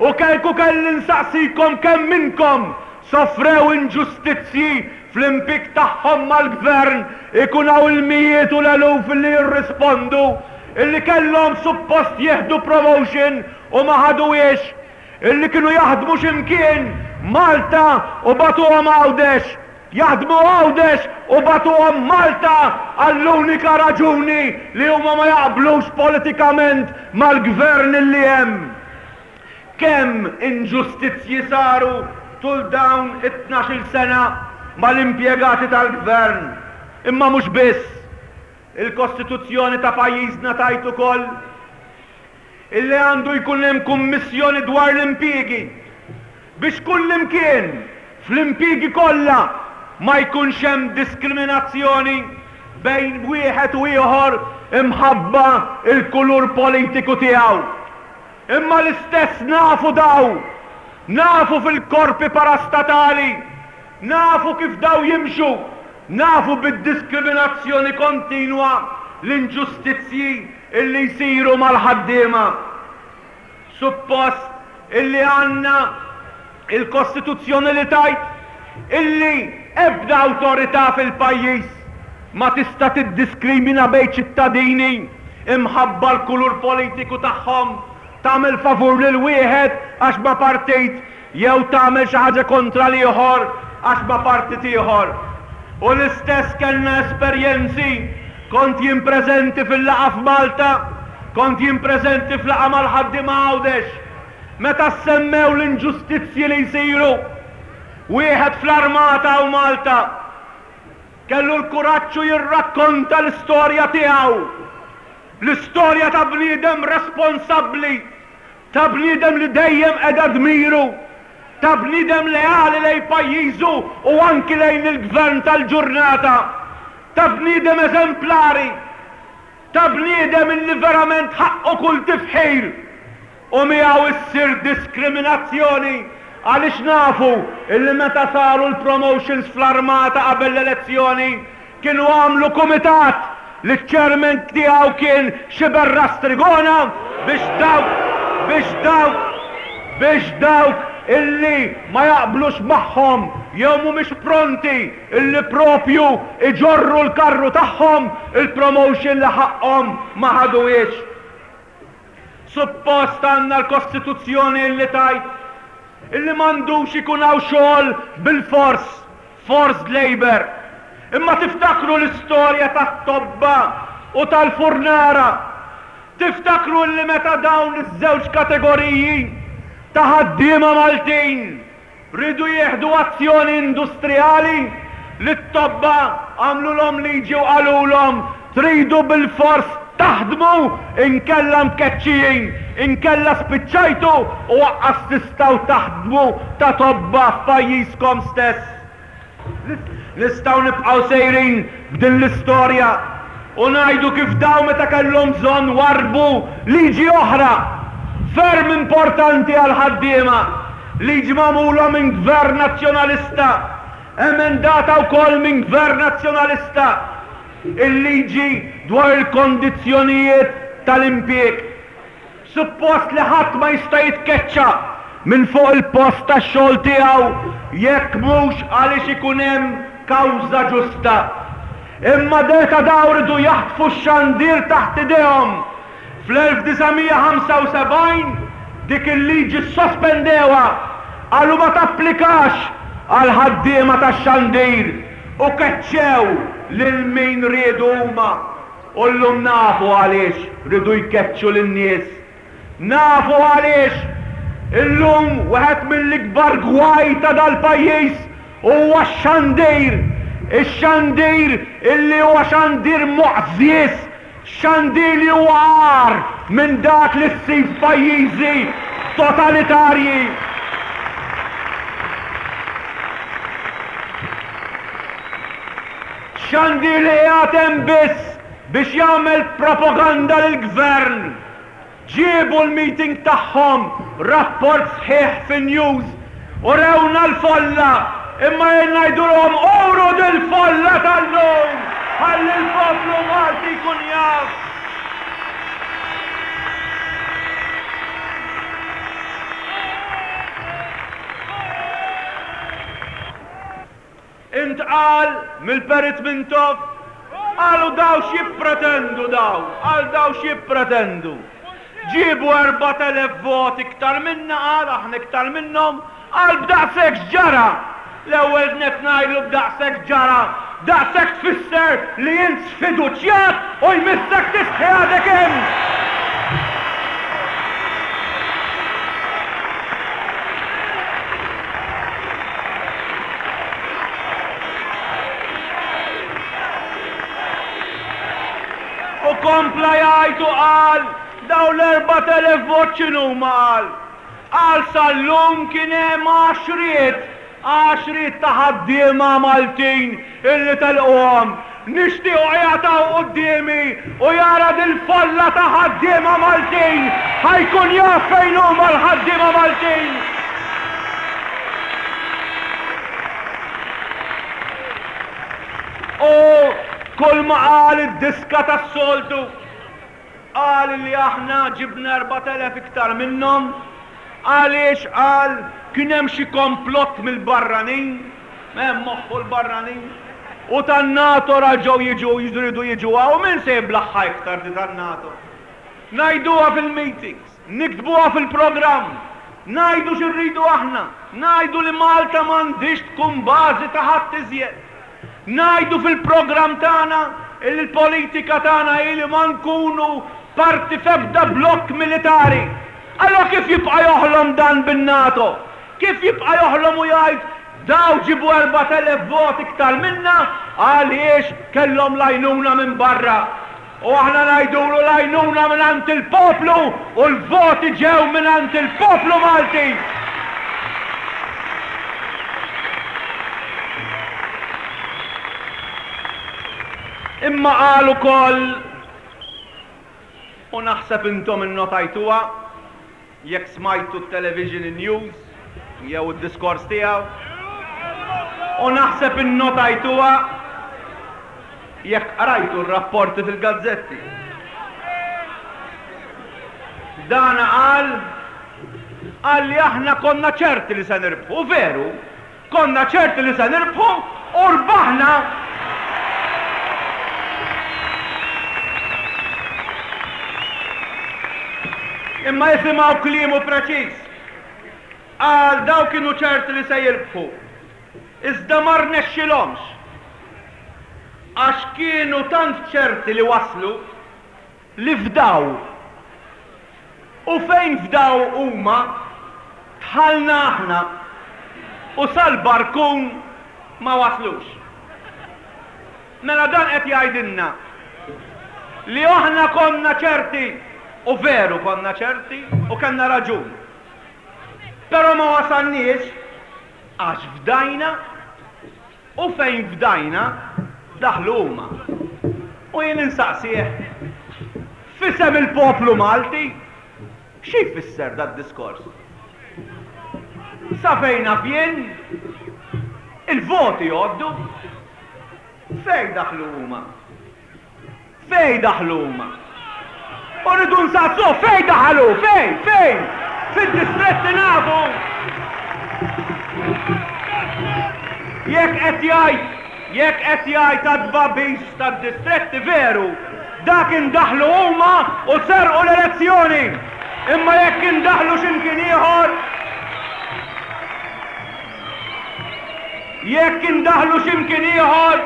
Speaker 2: u kieku kelli nsaqsikom kemm minnkom sofrew inġustizzji fl-impieg tagħhom mal-Gvern ikun hawn il-mijiet u l-eluf li jirrispondu illi kellhom suppost jieħdu promotion u ma ħaduhiex, illi kienu jaħdmu xi mkien Malta u bagħtuhom Għawdex, jaħdmu Għawdex u bagħtuhom Malta għall-unika raġuni li huma ma jaqblux politikament mal-Gvern illi hemm. Kemm inġustizzji saru tul dawn it-tnax-il sena mal-impjegati tal-Gvern. Imma mhux biss. Il-Kostituzzjoni ta' pajjiżna tgħid ukoll illi għandu jkun hemm kummissjoni dwar l-impjiegi biex kullimkien, fl-impjiegi kollha, ma jkunx hemm diskriminazzjoni bejn wieħed u ieħor imħabba l-kulur politiku tiegħu. Imma l-istess nafu daw, nafu fil-korpi parastatali, nafu kif daw jimxu, nafu bid-diskriminazzjoni kontinwa, l-inġustizzji illi jsiru mal-ħaddiema. Suppost illi għandna il-Kostituzzjoni li tgħid illi ebda awtorità fil-pajjiż ma tista' tiddiskrimina bejn ċittadini imħabba l-kulur politiku tagħhom, tagħmel favur lil wieħed għax ma' partit jew tagħmel xi ħaġa kontra l-ieħor għax ma' partit ieħor. U l-istess kellna esperjenzi, kont jien preżenti fil-laqgħa f'Malta, kont jien preżenti f'laqgħa mal-ħaddiema Għawdex, Meta ssemmew l-inġustizzji li jsiru, wieħed fl-armata hawn Malta kellu l-kuraġġ u jirrakkonta l-istorja tiegħu. L-istorja ta' bniedem responsabbli, ta' bniedem li dejjem qeda dmiru, ta' bniedem leali lejn pajjiżu u anki lejn il-gvern tal-ġurnata, ta' bniedem eżemplari. Ta' bniedem illi verament ħaqqu kull tifħir u miegħu issir diskriminazzjoni għaliex nafu illi meta saru l-promotions fl-armata qabel l-elezzjoni kienu għamlu kumitat li ċ-chairman tiegħu kien Sciberras Trigona biex dawk biex dawk biex dawk illi ma jaqblux magħhom jew mhumiex pronti Illi propju iġorru l-karru tagħhom il-promotion li ħaqqhom ma ħaduhiex. Suppost għandna l-Kostituzzjoni illi tgħid illi m'għandux ikun hawn xogħol bilfors, forced labour. Imma tiftakru l-istorja tat-tobba u tal-furnara? Tiftakru illi meta dawn iż-żewġ kategoriji ta' ħaddiema Maltin Riedu jieħdu azzjoni industrijali li t-tobba għamlulhom liġi u qalulhom tridu bilfors taħdmu inkella mkeċċijin, inkella spiċċajtu u aqqas tistgħu taħdmu ta' tobba f'pajjiżkom stess. Nistgħu nibqgħu sejrin b'din l-istorja u ngħidu kif dawn meta kellhom bżonn warrbu liġi oħra ferm importanti għall-ħaddiema, liġi magħmula minn Gvern Nazzjonalista, emendata wkoll minn Gvern Nazzjonalista, il-liġi dwar il-kondizzjonijiet tal-impjieg. Suppost li ħadd ma jista' jitkeċċa minn fuq il-post tax-xogħol tiegħu jekk mhux għaliex ikun hemm kawża ġusta. Imma meta dawn riedu jaħtfu x-xandir taħt idejhom fl-1975 dik il-liġi ssospendewha, qalu ma tapplikax għall-ħaddiema tax-xandir u keċċew lil min riedu huma. U llum nafu għaliex riedu jkeċċu lin-nies. Nafu għaliex illum wieħed mill-ikbar gwaj ta' dal-pajjiż huwa x-xandir. Ix-xandir illi huwa xandir moqżież, xandir li huwa agħar minn dak li ssib f'pajjiżi totalitarji. Xandir li qiegħed hemm biss biex jagħmel propaganda lill-Gvern. Ġiebu l-meeting tagħhom, rapport sħiħ fin-news, u rewna l-folla, imma jien ngħidulhom uru dil-folla tal-lum ħalli l-poplu Malti jkun jaf. Intqal mill-Perit Mintoff, qalu daw x'jippretendu daw, qal daw x'jippretendu. Ġiebu 4,000 vot iktar minna qal, aħna iktar minnhom, qal b'daqshekk x'ġara? L-ewwel nett ngħidlu b'daqshekk x'ġara, daqshekk tfisser li int sfiduċjat u jmissek tistħi għadek hemm! U kompla jgħid u qal, dawn l-4,000 vot x'inhuma qal. Qal sal-lum kien hemm għaxriet Għaxriet ta' ħaddiema Maltin illi telquhom. Nixtiequ qiegħed hawn quddiemi u jara dil-folla ta' ħaddiema Maltin ħa jkun jaf fejn huma l-ħaddiema Maltin. U kulma qal id-diska tas-soltu. Qal li aħna ġibna 4,000 iktar minnhom għaliex qal kien hemm xi komplott mill-barranin, hemm moħħu l-barranin, u tan-NATO raġgħu jiġu jridu jiġu hawn, min se jiblaħħa iktar di tan-NATO? Ngħiduha fil-meetings, niktbuha fil-programm, ngħidu xi rridu aħna, ngħidu li Malta m'għandhiex tkun bażi ta' ħadd iżjed. Ngħidu fil-programm tagħna illi l-politika tagħna hi li ma nkunu parti f'ebda blokk militari. Allura kif jibqa' joħlom dan bin-NATO? Kif jibqa' joħlom u jgħid daw ġiebu 4,000 vot iktar minna għaliex kellhom l-għajnuna minn barra? U aħna ngħidulu l-għajnuna mingħand il-poplu u l-voti ġew mingħand il-poplu Malti! Imma qal ukoll, u naħseb intom innotajtuha, Jekk smajtu t-television news jew id-diskors tiegħu, u naħseb innotajtuha jekk qrajtu r-rapporti fil-gazzetti. Dan qal qal li aħna konna ċerti li se nirbħu, veru, Konna ċerti li se nirbħu u rbaħna! Imma isimgħu kliemu preċiż. Qal dawn kienu ċerti li se jirbħu. Iżda ma rnexxilhomx. Għax kienu tant ċerti li waslu li fdaw. U fejn fdaw huma, dħalna aħna u sal-barkun ma waslux. Mela dan qed jgħidilna li aħna konna ċerti, u veru konna ċerti u kellna raġun. Però ma wasalniex għax fdajna U fejn fdajna, daħlu huma. U jien insaqsih, f'isem il-poplu Malti, xi jfisser dad-diskors? Sa fejn naf jien, il-voti jgħoddu. Fejn daħlu huma? Fejn daħlu huma? U rridu nsaqsuh fejn daħalu? Fejn? Fejn? Fid-distretti nafu! Jekk qed jgħid, jekk qed jgħid għat-tbagħbis tad-distretti veru, dak indaħlu huma u serqu l-elezzjoni. Imma jekk indaħlu xi mkien ieħor, jekk indaħlu xi mkien ieħor,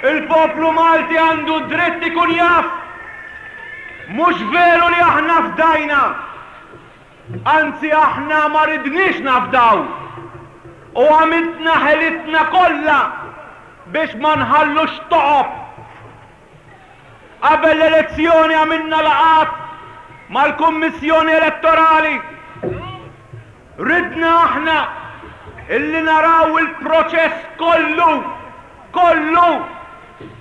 Speaker 2: Il-poplu Malti għandu dritt ikun jaf. Mhux veru li aħna fdajna. Anzi aħna ma ridniex nafdaw. U għamiltna ħelitna kollha biex ma nħallux toqob. Qabel l-elezzjoni għamilna laqgħat mal-Kummissjoni Elettorali. Ridna aħna illi naraw il-proċess kollu, kollu!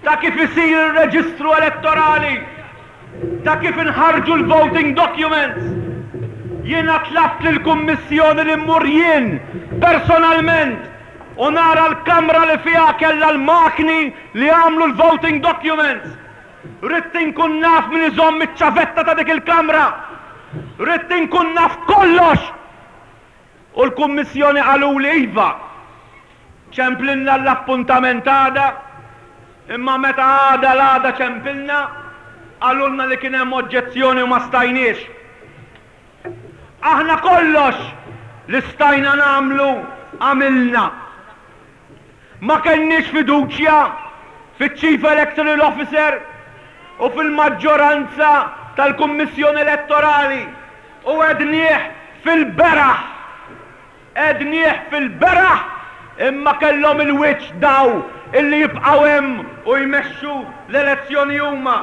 Speaker 2: ta' kif isir ir-reġistru elettorali, ta' kif inħarġu l-voting documents. Jiena tlabt lill-Kummissjoni li mmur jien personalment u nara l-kamra li fiha kellha l-makni li għamlu l-voting documents. Ridt inkun naf min iżomm iċ-ċavetta ta' dik il-kamra. Ridt inkun naf kollox! U l-Kummissjoni qaluli iva, ċemplilna l-appuntament għada, imma meta għada l-għada ċempilna, qalulna li kien hemm oġġezzjoni u ma stajniex. Aħna kollox li stajna nagħmlu għamilna. Ma kellniex fiduċja fiċ-Chief Electoral Officer u fil-maġġoranza tal-Kummissjoni Elettorali u għednieh fil-beraħ. Għednieh fil-beraħ imma kellhom il-wiċċ daw illi jibqgħu hemm u jmexxu l-elezzjoni huma.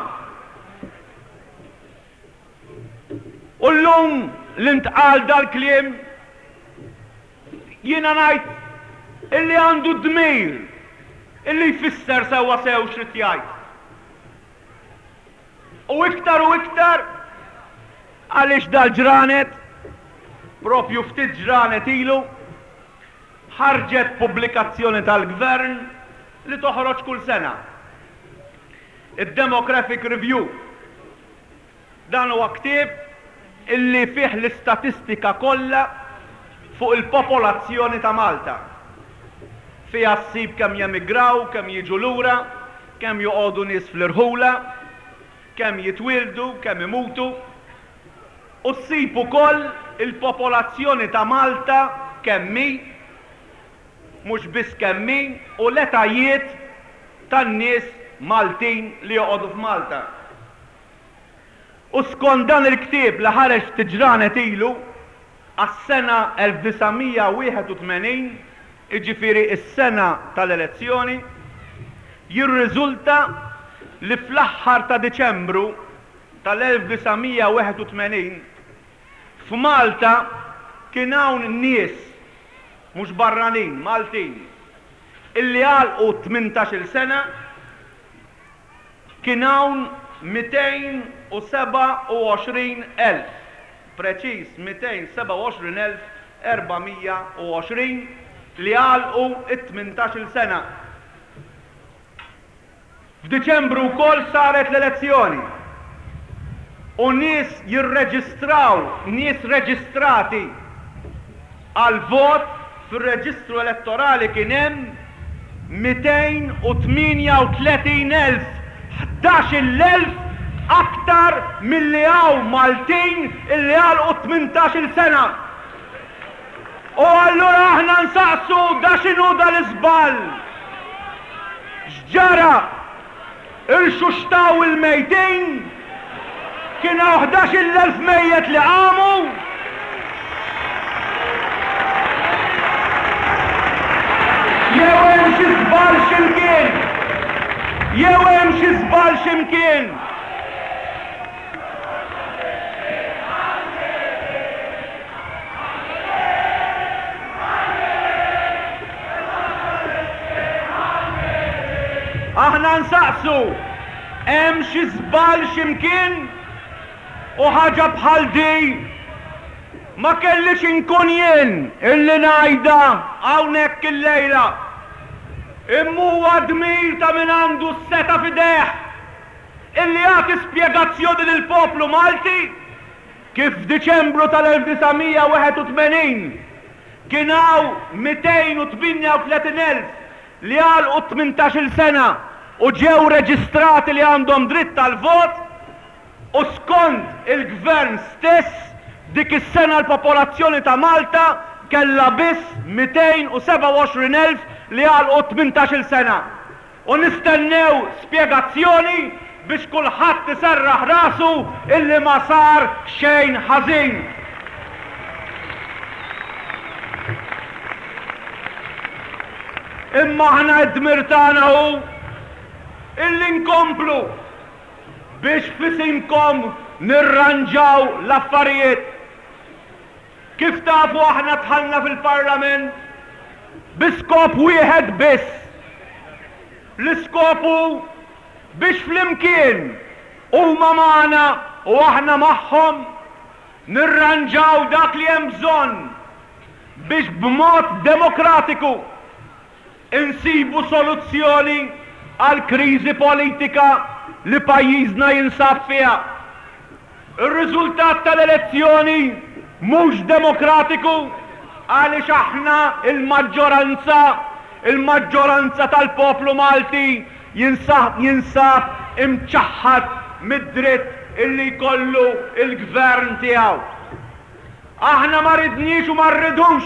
Speaker 2: U llum li ntqal dal-kliem, jiena ngħid illi għandu d-dmir illi jfisser sewwa sew x'ried jgħid. U iktar u iktar għaliex dal-ġranet, propju ftit ġranet ilu, ħarġet pubblikazzjoni tal-Gvern li toħroġ kull sena. Id-Demographic Review. Dan huwa ktieb illi fih l-istatistika kollha fuq il-popolazzjoni ta' Malta. Fiha ssib kemm jemigraw, kemm jiġu lura, kemm joqogħdu nies fl-irħula, kemm jitwieldu, kemm imutu. U ssib ukoll il-popolazzjoni ta' Malta kemm hi, mhux biss kemm hi, u l-etajiet tan-nies Maltin li joqogħdu f'Malta. U skont dan il-ktieb li ħareġ ftit ġranet ilu, għas-sena 1981, jiġifieri s-sena tal-elezzjoni, jirriżulta li fl-aħħar ta' Diċembru tal-1981, f'Malta kien hawn nies, mhux barranin, Maltin, illi għalqu tmintax-il sena, Kien hawn 227,000, preċiż 227,420 li għalqu t-tmintax-il sena. F'Diċembru wkoll saret l-elezzjoni u nies jirreġistraw, nies reġistrati għall-vot Fir-reġistru elettorali kien hemm 238,000, 11,000 aktar milli hawn Maltin illi għalqu t-tmintax-il sena. U allura aħna nsaqsu da x'inhu dal-iżball? X'ġara? Irxuxtaw il-mejtin? Kien hawn 11,000 mejjet li qamu? Jew hemm xi żball xi mkien? Jew hemm xi żball xi mkien? Aħna nsaqsu, hemm xi żball xi mkien? U ħaġa bħal di ma kellix inkun jien illi ngħidha hawnhekk illejla. Imma huwa dmir ta' min għandu s-setgħa f'idejh illi jagħti spjegazzjoni lill-poplu Malti Kif f'Diċembru tal-1981 kien hawn 238,000 li għalqu t-tmintax-il sena u ġew reġistrati li għandhom dritt għall-vot u skont il-Gvern stess dik is-sena l-popolazzjoni ta' Malta kellha biss 227,000 li għalqu t-tmintax-il sena. U nistennew spjegazzjoni biex kulħadd iserraħ rasu illi ma sar xejn ħażin. Imma aħna d-dmir tagħna hu illi nkomplu biex f'isimkom nirranġaw l-affarijiet. Kif tafu aħna dħalna fil-Parlament bi skop wieħed biss. L-iskop hu biex flimkien, huma magħna u aħna magħhom, nirranġaw dak li hemm bżonn biex b'mod demokratiku insibu soluzzjoni għall-kriżi politika li pajjiżna jinsab fiha. Ir-riżultat tal-elezzjoni mhux demokratiku għaliex aħna l-maġġoranza, il-maġġoranza tal-poplu Malti jinsab imċaħħad mid-dritt illi jkollu l-gvern tiegħu. Aħna ma ridniex u ma rridux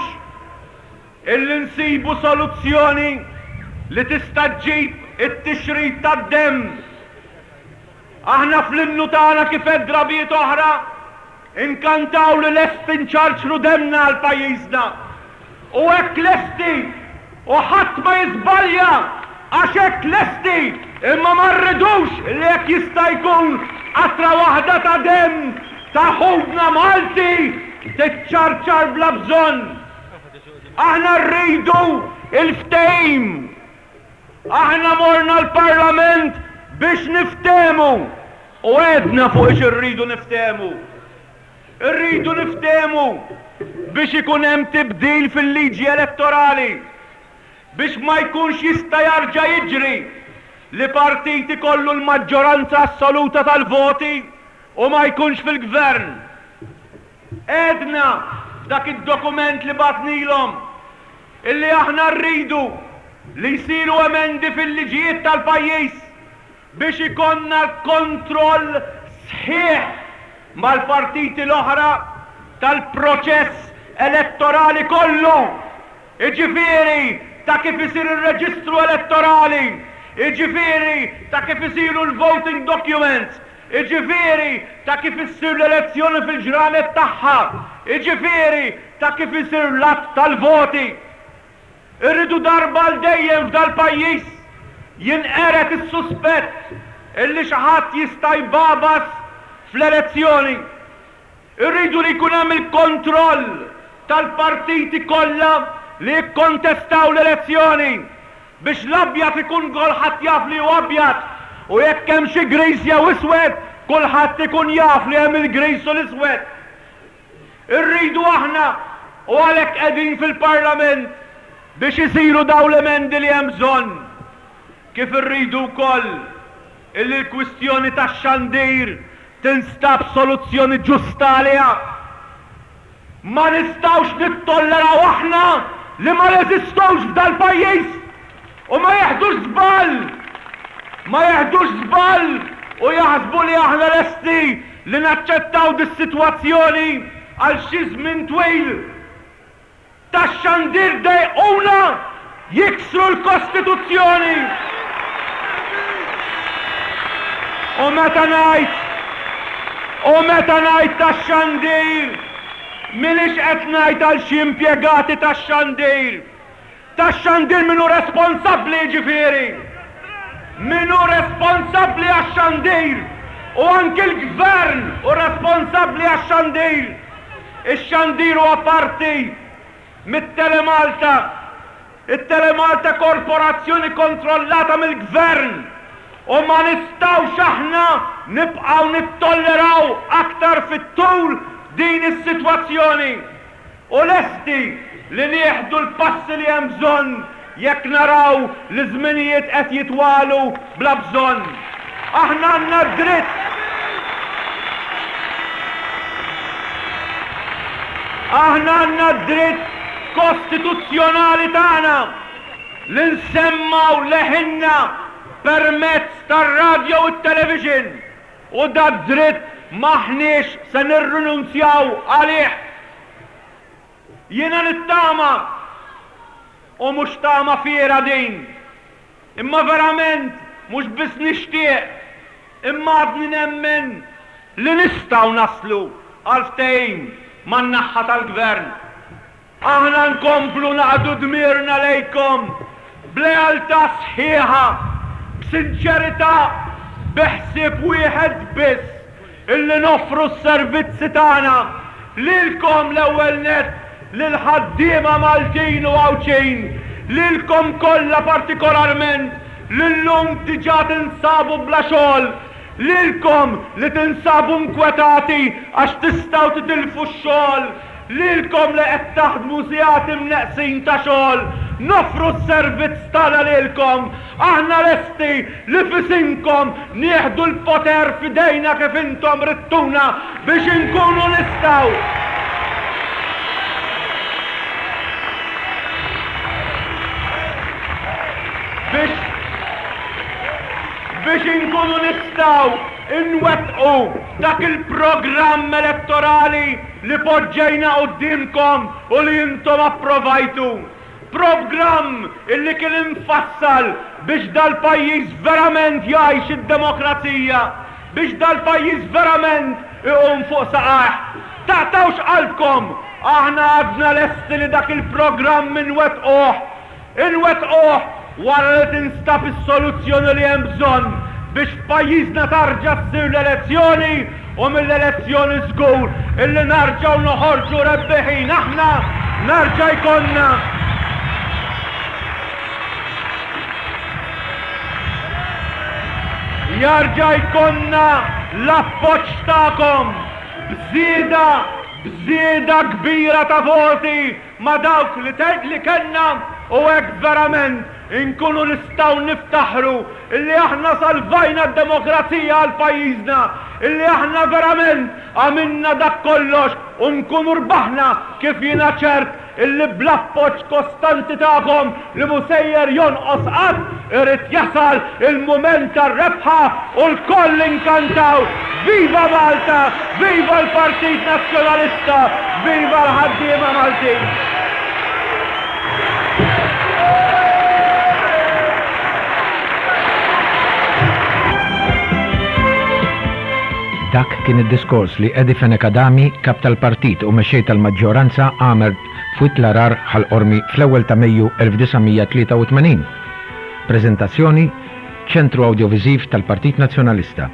Speaker 2: illi nsibu soluzzjoni li tista' ġġib it-tixrid tad-demm. Aħna fl-innu tagħna kif għedt drabiet oħra, inkantaw li lesti nċarċru demmna għal pajjiżna. U hekk lesti u ħadd ma jiżbalja għax hekk lesti imma ma rridux li jekk jista' jkun qatra waħda ta' demm ta' ħutna Malti tiċċarċar bla bżonn. Aħna rridu l-ftehim. Aħna morna l-Parlament biex niftehmu u għedna fuq ix irridu niftehmu. Irridu niftehmu biex ikun hemm tibdil fil-liġi elettorali biex ma jkunx jista' jarġa' jiġri li partit ikollu l-maġġoranza assoluta tal-voti u ma jkunx fil-gvern. Għedna f'dak id-dokument li bagħtnilhom illi aħna rridu li jsiru emendi fil-liġijiet tal-pajjiż biex ikollna l-kontroll sħiħ mal-partiti l-oħra tal-proċess elettorali kollu, jiġifieri ta' kif isir ir-reġistru elettorali, jiġifieri ta' kif isiru l-voting documents, jiġifieri ta' kif issir l-elezzjoni fil-ġranet tagħha, jiġifieri ta' kif isir l-għadd tal-voti. Irridu darba għal dejjem f'dal-pajjiż jinqered is-suspett illi xi ħadd jista' jbagħbas fl-elezzjoni. Irridu li jkun hemm il-kontroll tal-partiti kollha li jikkontestaw l-elezzjoni biex l-abjad ikun kulħadd jaf li hu abjad u jekk hemm xi griż jew iswed kulħadd ikun jaf li hemm il-griż u l-iswed. Irridu aħna u għalhekk qegħdin fil-Parlament biex isiru dawn l-emendi li hemm bżonn. Kif irridu wkoll illi l-kwistjoni tax-xandir tinstab soluzzjoni ġusta għaliha. Ma nistgħux nittolleraw aħna li ma neżistux f'dal-pajjiż u ma jeħdux żball! Ma jeħdux żball u jaħsbu li aħna lesti li naċċettaw dis-sitwazzjoni għal xi żmien twil. Tax-xandir dejquna jiksru l-Kostituzzjoni! U meta ngħid, u meta ngħid tax-xandir, m'iniex qed ngħid għal xi impjegati tax-xandir. Tax-xandir min hu responsabbli jiġifieri? Min hu responsabbli għax-xandir? U anki l-Gvern hu responsabbli għax-xandir. Ix-xandir huwa parti mit-Telemalta. It-Telemalta korporazzjoni kontrollata mill-Gvern u ma nistgħux aħna nibqgħu nittolleraw aktar fit-tul din is-sitwazzjoni. U lesti li nieħdu l-passi li hemm bżonn jekk naraw li ż-żminijiet qed jitwalu bla bżonn. Aħna għandna d-dritt. Aħna għandna d-dritt kostituzzjonali tagħna li nsemmgħu leħinna permezz tar-radjo u t-television u dad-dritt m'aħniex se nirrinunzjaw għalih. Jiena nittama, u mhux tama fiergħa din, imma verament mhux biss nixtieq, imma għadni nemmen li nistgħu naslu għal ftehim man-naħha tal-Gvern. Aħna nkomplu naqdu dmirna lejkom b'lealtà sħiħa, b'sinċerità, bi ħsieb wieħed biss, illi noffru s-servizzi tagħna lilkom l-ewwel nett, lill-ħaddiema Maltin u Għawdxin, lilkom kollha partikolarment. li llum diġà tinsabu bla xogħol, lilkom li tinsabu nkwetati għax tistgħu titilfu x-xogħol, lilkom li qed taħdmu sigħat imneqqsin ta' xogħol, noffru s-servizz tagħna lilkom. Aħna lesti li f'isimkom nieħdu l-poter f'idejna kif intom ridtuna biex inkunu nistgħu biex biex inkunu nistgħu nwettqu dak il-programm elettorali li poġġejna quddiemkom u li intom approvajtu. Programm illi kien imfassal biex dal-pajjiż verament jgħix id-demokrazija, biex dal-pajjiż verament iqum fuq saqajh. Taqtgħux qalbkom, aħna għadna lesti li dak il-programm inwettquh. Inwettquh wara li tinstab is-soluzzjoni li hemm bżonn biex f'pajjiżna tarġa' ssir l-elezzjoni u mill-elezzjoni żgur illi narġgħu noħorġu rebbiħin aħna, narġa' jkollna jarġa' jkollna l-appoġġ tagħkom b'żieda b'żieda kbira ta' voti ma' dawk li li kellna u hekk verament inkunu nistgħu niftaħru illi aħna salvajna d-demokrazija għal pajjiżna, illi aħna verament għamilna dak kollox u nkunu rbaħna kif jiena ċert illi bl-appoġġ kostanti tagħkom li mhu sejjer jonqos qatt, irid jasal il-mument tar-rebħa u lkoll inkantaw Viva Malta, Viva l-Partit Nazzjonalista, Viva l-ħaddiema Maltin!
Speaker 1: Dak kien id-diskors li Eddie Fenech Adami, Kap tal-Partit u Mexxej tal-Maġġoranza għamel f'Wied l-Għarar, Ħal Qormi fl-ewwel ta' Mejju 1983. Preżentazzjoni, Ċentru Awdjoviżiv tal-Partit Nazzjonalista.